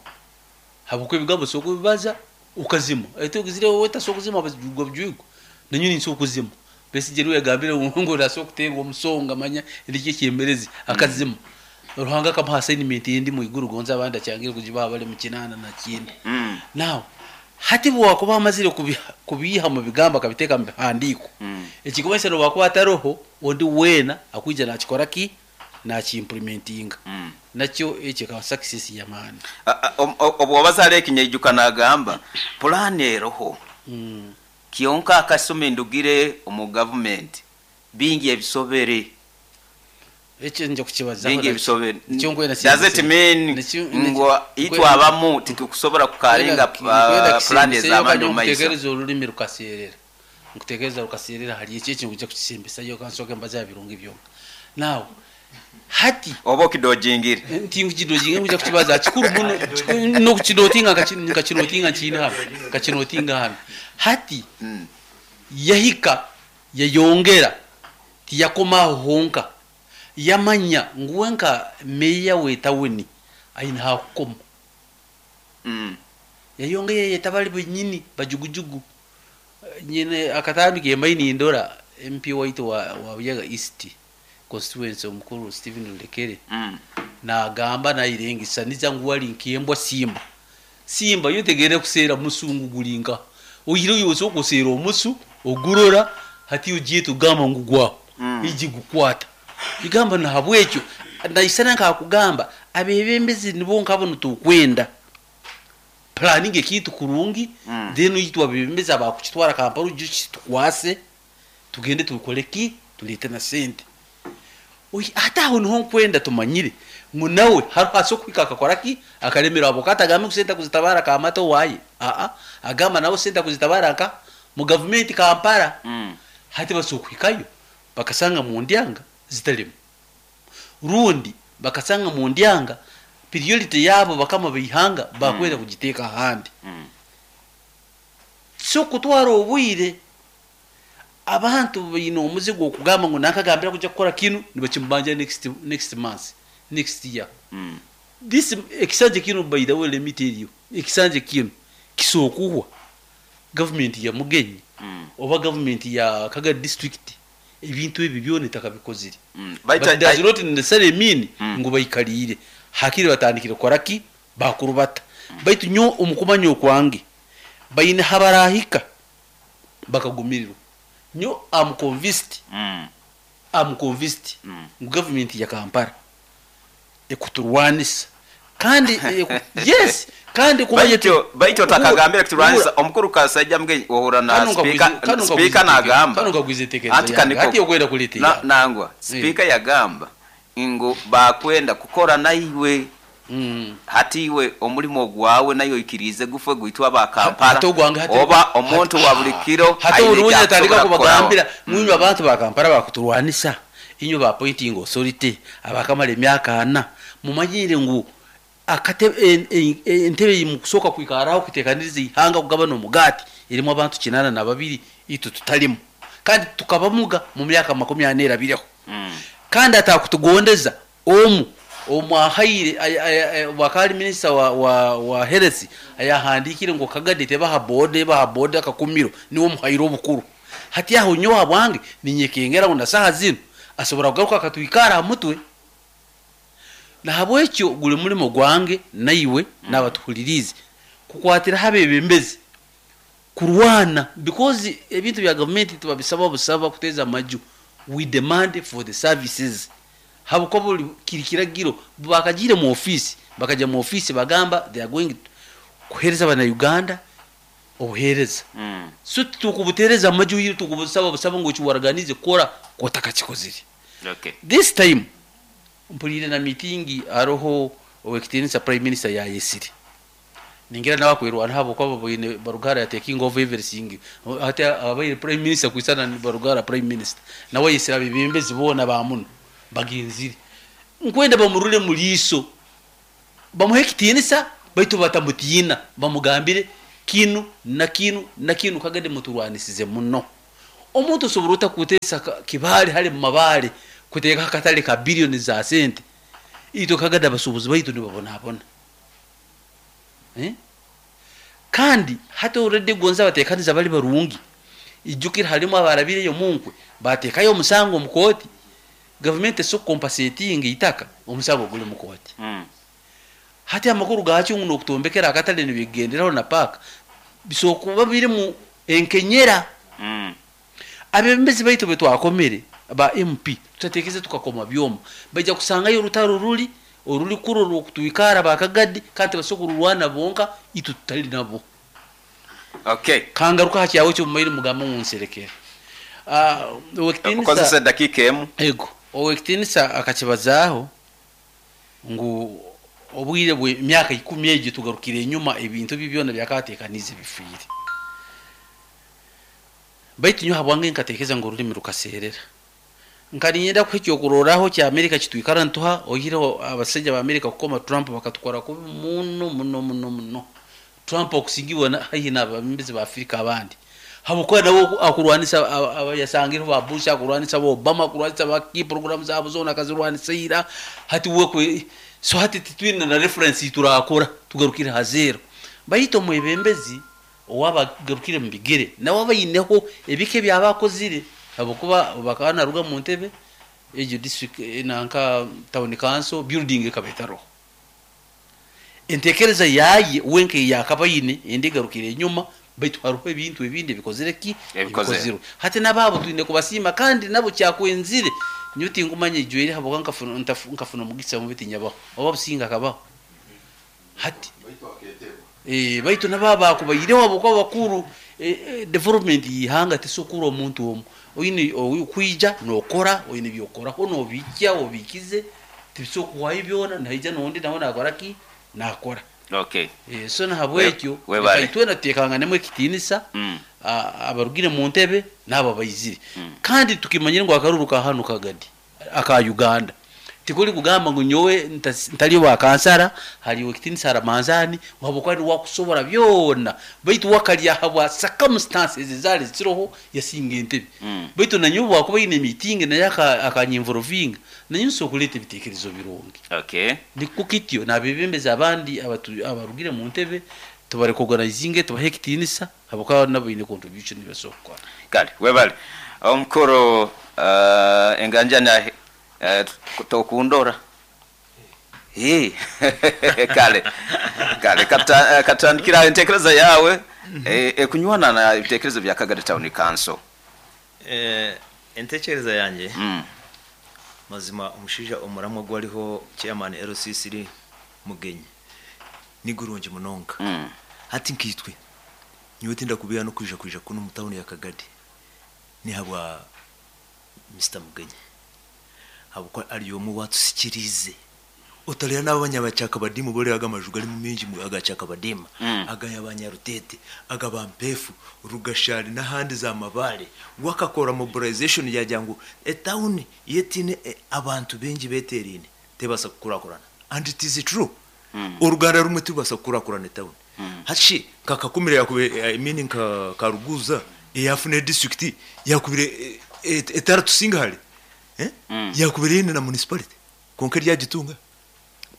habukwe ebigambo soko bibaza ukazima etugizire wowe tasokuzima abajugwa bjugo nanyuni nsokuzima besi jeruwe yagambire ngo rasokutengwa omusonga manya ndike kyemerezi akazima Ruhanga kamuha assignment yindi mu iguru gonza abandi acyangira kujiba bali mu kinana na kindi now hati bwakuba amazire kubiha mu bigamba akabiteka mu bihandiko ekikomesa no bakuba ataroho ondi wena akuija nakikora ki nakiimplementinga nakyo ekyo ka success ya maani obwo bazale ekinyejuka nagamba plan eroho kionka akasome ndugire omu government bingi ebisobere ekyo nje kukibaza bingi ebisobere does it mean ngo itwa abamu titukusobora kukarenga plan ez'amani mu maiso nkutekereza olulimi rukaserera nkutekereza rukaserera hari ekyo ekintu kujja kukisimbisayo kansoke mbaza birungi byonka now hati oba okidojingire nti nkidojinga nkuja kukibaza kikuru muno no kukidotinga nkakinotinga nkina hano nkakinotinga hano hati yahika yayongera tiyakomaho honka yamanya nguwe nka meya wetawuni aina hakukoma yayongera yetabali benyini bajugujugu nyine akatambi kembaini ndora MP waitu wa Buyaga East constituency omukuru Stephen Lulekere nagamba nairengisa niza nguwali nkembwa simba simba yotegere kusera musungu gulinga oyiro yose okusera omusu ogurora hati ugiye tugamba ngugwa iji gukwata igamba na habwekyo naisana nkakugamba abebembezi nibo nkabo tukwenda planning ekintu kurungi then yitwa bebembezi abakukitwara Kampala ujye tukwase tugende tukoleki tulete na sente Ate aho niho nkwenda tumanyire ngu nawe hariho ase okuhika akakora ki akaremera abo katagambe ngu sente kuzitabara kamata owaye aa agamba nawe sente kuzitabara nka mu gavumenti Kampala. Hati basobola okuhikayo bakasanga mu ndyanga zitalimu, rundi bakasanga mu ndyanga priority yabo bakama baihanga bakwenda kugiteeka ahandi. So kutwara obwire abantu baine omuze gw'okugamba ngu nankagambira kujja kukora kinu nibakimubanja next month, next year. This ekisanja kinu, by the way, let me tell you, ekisanja kinu kisokuhwa gavumenti ya Mugenyi oba gavumenti ya Kagadi district ebintu ebi byona etakabikozire. But does not necessarily mean ngu baikaliire hakiri batandikire kukora ki bakurubata. Baitu nyowe omu kumanya okwange baine habarahika bakagumirirwa. Nyo am convinced, am convinced ngu gavumenti ya Kampala ekuturwanisa kandi yes kandi kumanya Baitu otakagambire kuturwanisa omukuru Kasaija Mugenyi ohura na speaker nagamba kanu nkagwiza entekereza yange hati okwenda kuleeta nangwa speaker yagamba ngu bakwenda kukora naiwe. Hati iwe omulimo gwawe nayo oikirize gufe gwitwa ba Kampala oba omuntu wa buli kiro. Hati orunya atandika kubagambira mwinywe abantu ba Kampala bakuturwanisa, inywe ba appointing authority abakamara emyaka 4 mumanyire ngu entebe mukusooka kwikaraho kuteekaniriza ihanga kugabana omugati erimu abantu 82 itwe tutalimu kandi tukabamuga mu myaka 40 erabireho. Kandi atakutugondeza omu omwahaire wakali minisita wa health ayahandikire ngu Kagadi tebaha board, ebaha board akakumiro niwe omuhaire obukuru. Hati aho nyowe habwange ninyekengera ngu na saha zino asobora kugaruka akatwikara aha mutwe. Nahabwekyo guli mulimo gwange naiwe n'abatuhulirize kukwatira abebembezi kurwana, because ebintu bya gavumenti tibabisaba busaba kuteza amaju. We demand for the services. Habuko buli kiri kiragiro bakagire mu office, bakaja mu office bagamba they are going kuhereza bana Uganda obuhereza. So tukubutereza amaju yiri tukubusaba busaba ngo kiwarganize kora kotakakikozire. This time mpulire na meeting aroho owekitinisa Prime Minister ya yesiri. Ningira nabakwirwana habo kwa baine Barugara ya taking over everything. Hati abaire Prime Minister kwisana ni Barugara Prime Minister. Nawe yesira bibembezi bona ba muno bagenzire. Nkwenda bamurule muliso. Bamuhe kitinisa baitu batamutina bamugambire kinu na kinu na kinu Kagadi muturwanisize muno. Omuntu osobora otakutesa kibali hali mu mabale kuteka akatale ka billioni za sente. Itwe Kagadi abasubuzi baitu nibabonabona. Kandi hati already gonza batekaniza bali barungi. Ijukira halimu abarabireyo munkwe batekayo omusango mu kooti. Government so compensating itaka omusango guli mu kooti. Hati amakuru gakyo nguno okutombekera akatale nibigenderaho na park bisokuba biri mu enkenyera. Abebembezi baitu betwakomere ba MP tutatekeze tukakoma byoma bajja kusangayo orutaro ruli oruli kuro rwokutwikara bakagadi kandi basokururwana bonka itu tutali nabo. Kangaruka hakyawe cyo mumaire mugamba munserekera. Okozesa dakika emu. Ego owekitinisa akakibazaho ngu obwire bwe myaka 10 egyo tugarukire enyuma ebintu byona byakatekanize bifiire. Baitu nyo habwange nkatekeza ngo urulimi rukaserera. Nkaninyenda kuhikyo okuroraho kya Amerika kitwikara ntuha oyireho abasajja ba Amerika kukoma Trump bakatukora kubi muno muno muno muno. Trump okusingiwa haihi n'ababembezi ba Afrika abandi. Habwokuba nabo akurwanisa abayasangire ba Bush, akurwanisa ba Obama, akurwanisa ba key programs zabo zona akazirwanisa ira. Hati wekwe so hati titwina na reference turakora tugarukire ha zero. Bayito mwebembezi owabagarukire mu bigere nawe abayineho ebike byabakozire habwokuba bakana ruga mu ntebe ejo district nanka town council building ekabetaro. Entekereza yaye wenke yakabayine endigarukire enyuma baitu haruho ebintu ebindi bikozire ki ebikozirwe. Hati nababo twine kubasima kandi nabo kyakwenzire nyuti ngumanye ijwere habo nkafuna mugisa mu bitinyabaho oba businga kabaho. Hati baitu nababa kubayireho abo kwa bakuru development yihanga tisukura omuntu omu Oyine okwija nokora, oyine byokoraho nobijja obikize, tibisobola kuhwayo byona, naija nondi nawe nakora ki? Nakora. Okay. So nahabwekyo Webale. leka itwena tutekanganemu ekitinisa, abarugire mu ntebe n'abo abaizire. Kandi tukimanyire ngu akaruru ka hanu Kagadi aka Uganda tikuli kugamba ngu nyowe ntali wa kansara, haliwo ekitinisa Ramanzani habwokuba ni wakusobora byona, baitu wakalya habwa circumstances ezali ziroho yasinga entebe. Baitu nanyowe bwakuba ine meeting naye akanyinvolvinga, nanyowe nsobola kuleta ebitekerezo birungi. Okay. Nikwo kityo nabebembezi abandi abarugire mu ntebe tubarecognizinge, tubahe ekitinisa habwokuba nabo baine contribution basobola kukora. Kale webale omukuru enganjana tokundora. Kale kale katandikira entekereza yawe ekunywana na ebitekerezo bya Kagadi Town Council. Entekereza yange mazima omushaija omuramwa gwariho chairman LCC Mugenyi ni gurungi munonga. Hati nkitwe nyowe tindakubeera no kwija kuno mu town ya Kagadi ni habwa Mr Mugenyi, habwokuba ari omwe watusikirize otarera n'abanyabacakabadimu bore aga amaju gari mingi agacakabadima aga yabanyarutete aga bampefu rugashari n'ahandi za mabare, wakakora mobilization yagira ngu etawuni yetine abantu bengi beterine tebasa kukurakurana, and it is true. Oruganda rumwe tubasa kukurakurana etawuni. Hashi kakakumira yakube, I mean nka Karuguza eyafune district yakubire etaratusinga hali yakubire ine na municipality konka ryagitunga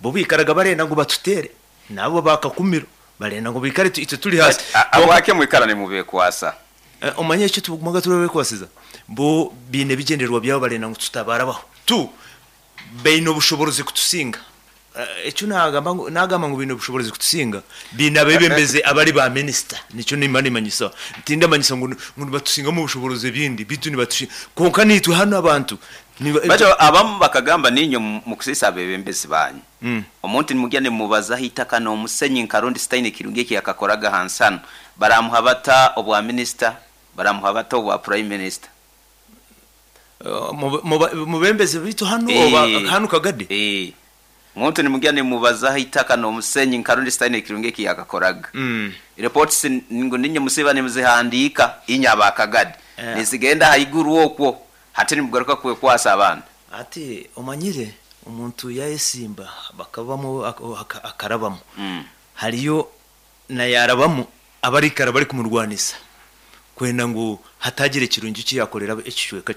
bo bikaraga barenda ngo batutere nabo bakakumiro barenda ngo bikare itwe turi hasi. Abwake mwikara ni mubekwasa. Omanye icyo tugumaga turabekwasiza bo bine bigenderwa byabo barenda ngo tutabarabaho tu bene obushoborozi kutusinga. Icyo nagamba ngo bine obushoborozi kutusinga bine abebembeze abari ba minister, nicyo nimba nimanyisa ntinda manyisa ngo batusinga mu bushoborozi bindi bitu ni batushinga konka nitwe hano abantu bacho abamu bakagamba ninyo mukusisa abebembezi banyu. Omuntu nimugende mubaza hitaka no musenyi nkarundi Stein kirungi ki yakakoraga hansano baramuha bata obwa minister, baramuha bata obwa prime minister. Mubembeze bitu hano oba hano Kagadi. Omuntu nimugende mubaza hitaka no musenyi nkarundi Stein kirungi ki yakakoraga. Reports ngo ninyo musiba nimuzihandika inyaba Kagadi. Nizigenda haiguru okwo hati nimugaruka kwekwasa abantu. Ati omanyire omuntu yayesimba bakabamo akarabamo. Hariyo na yarabamo abarikara bari kumurwanisa kwenda ngo hatagire kirungi kiyakorera ekicweka.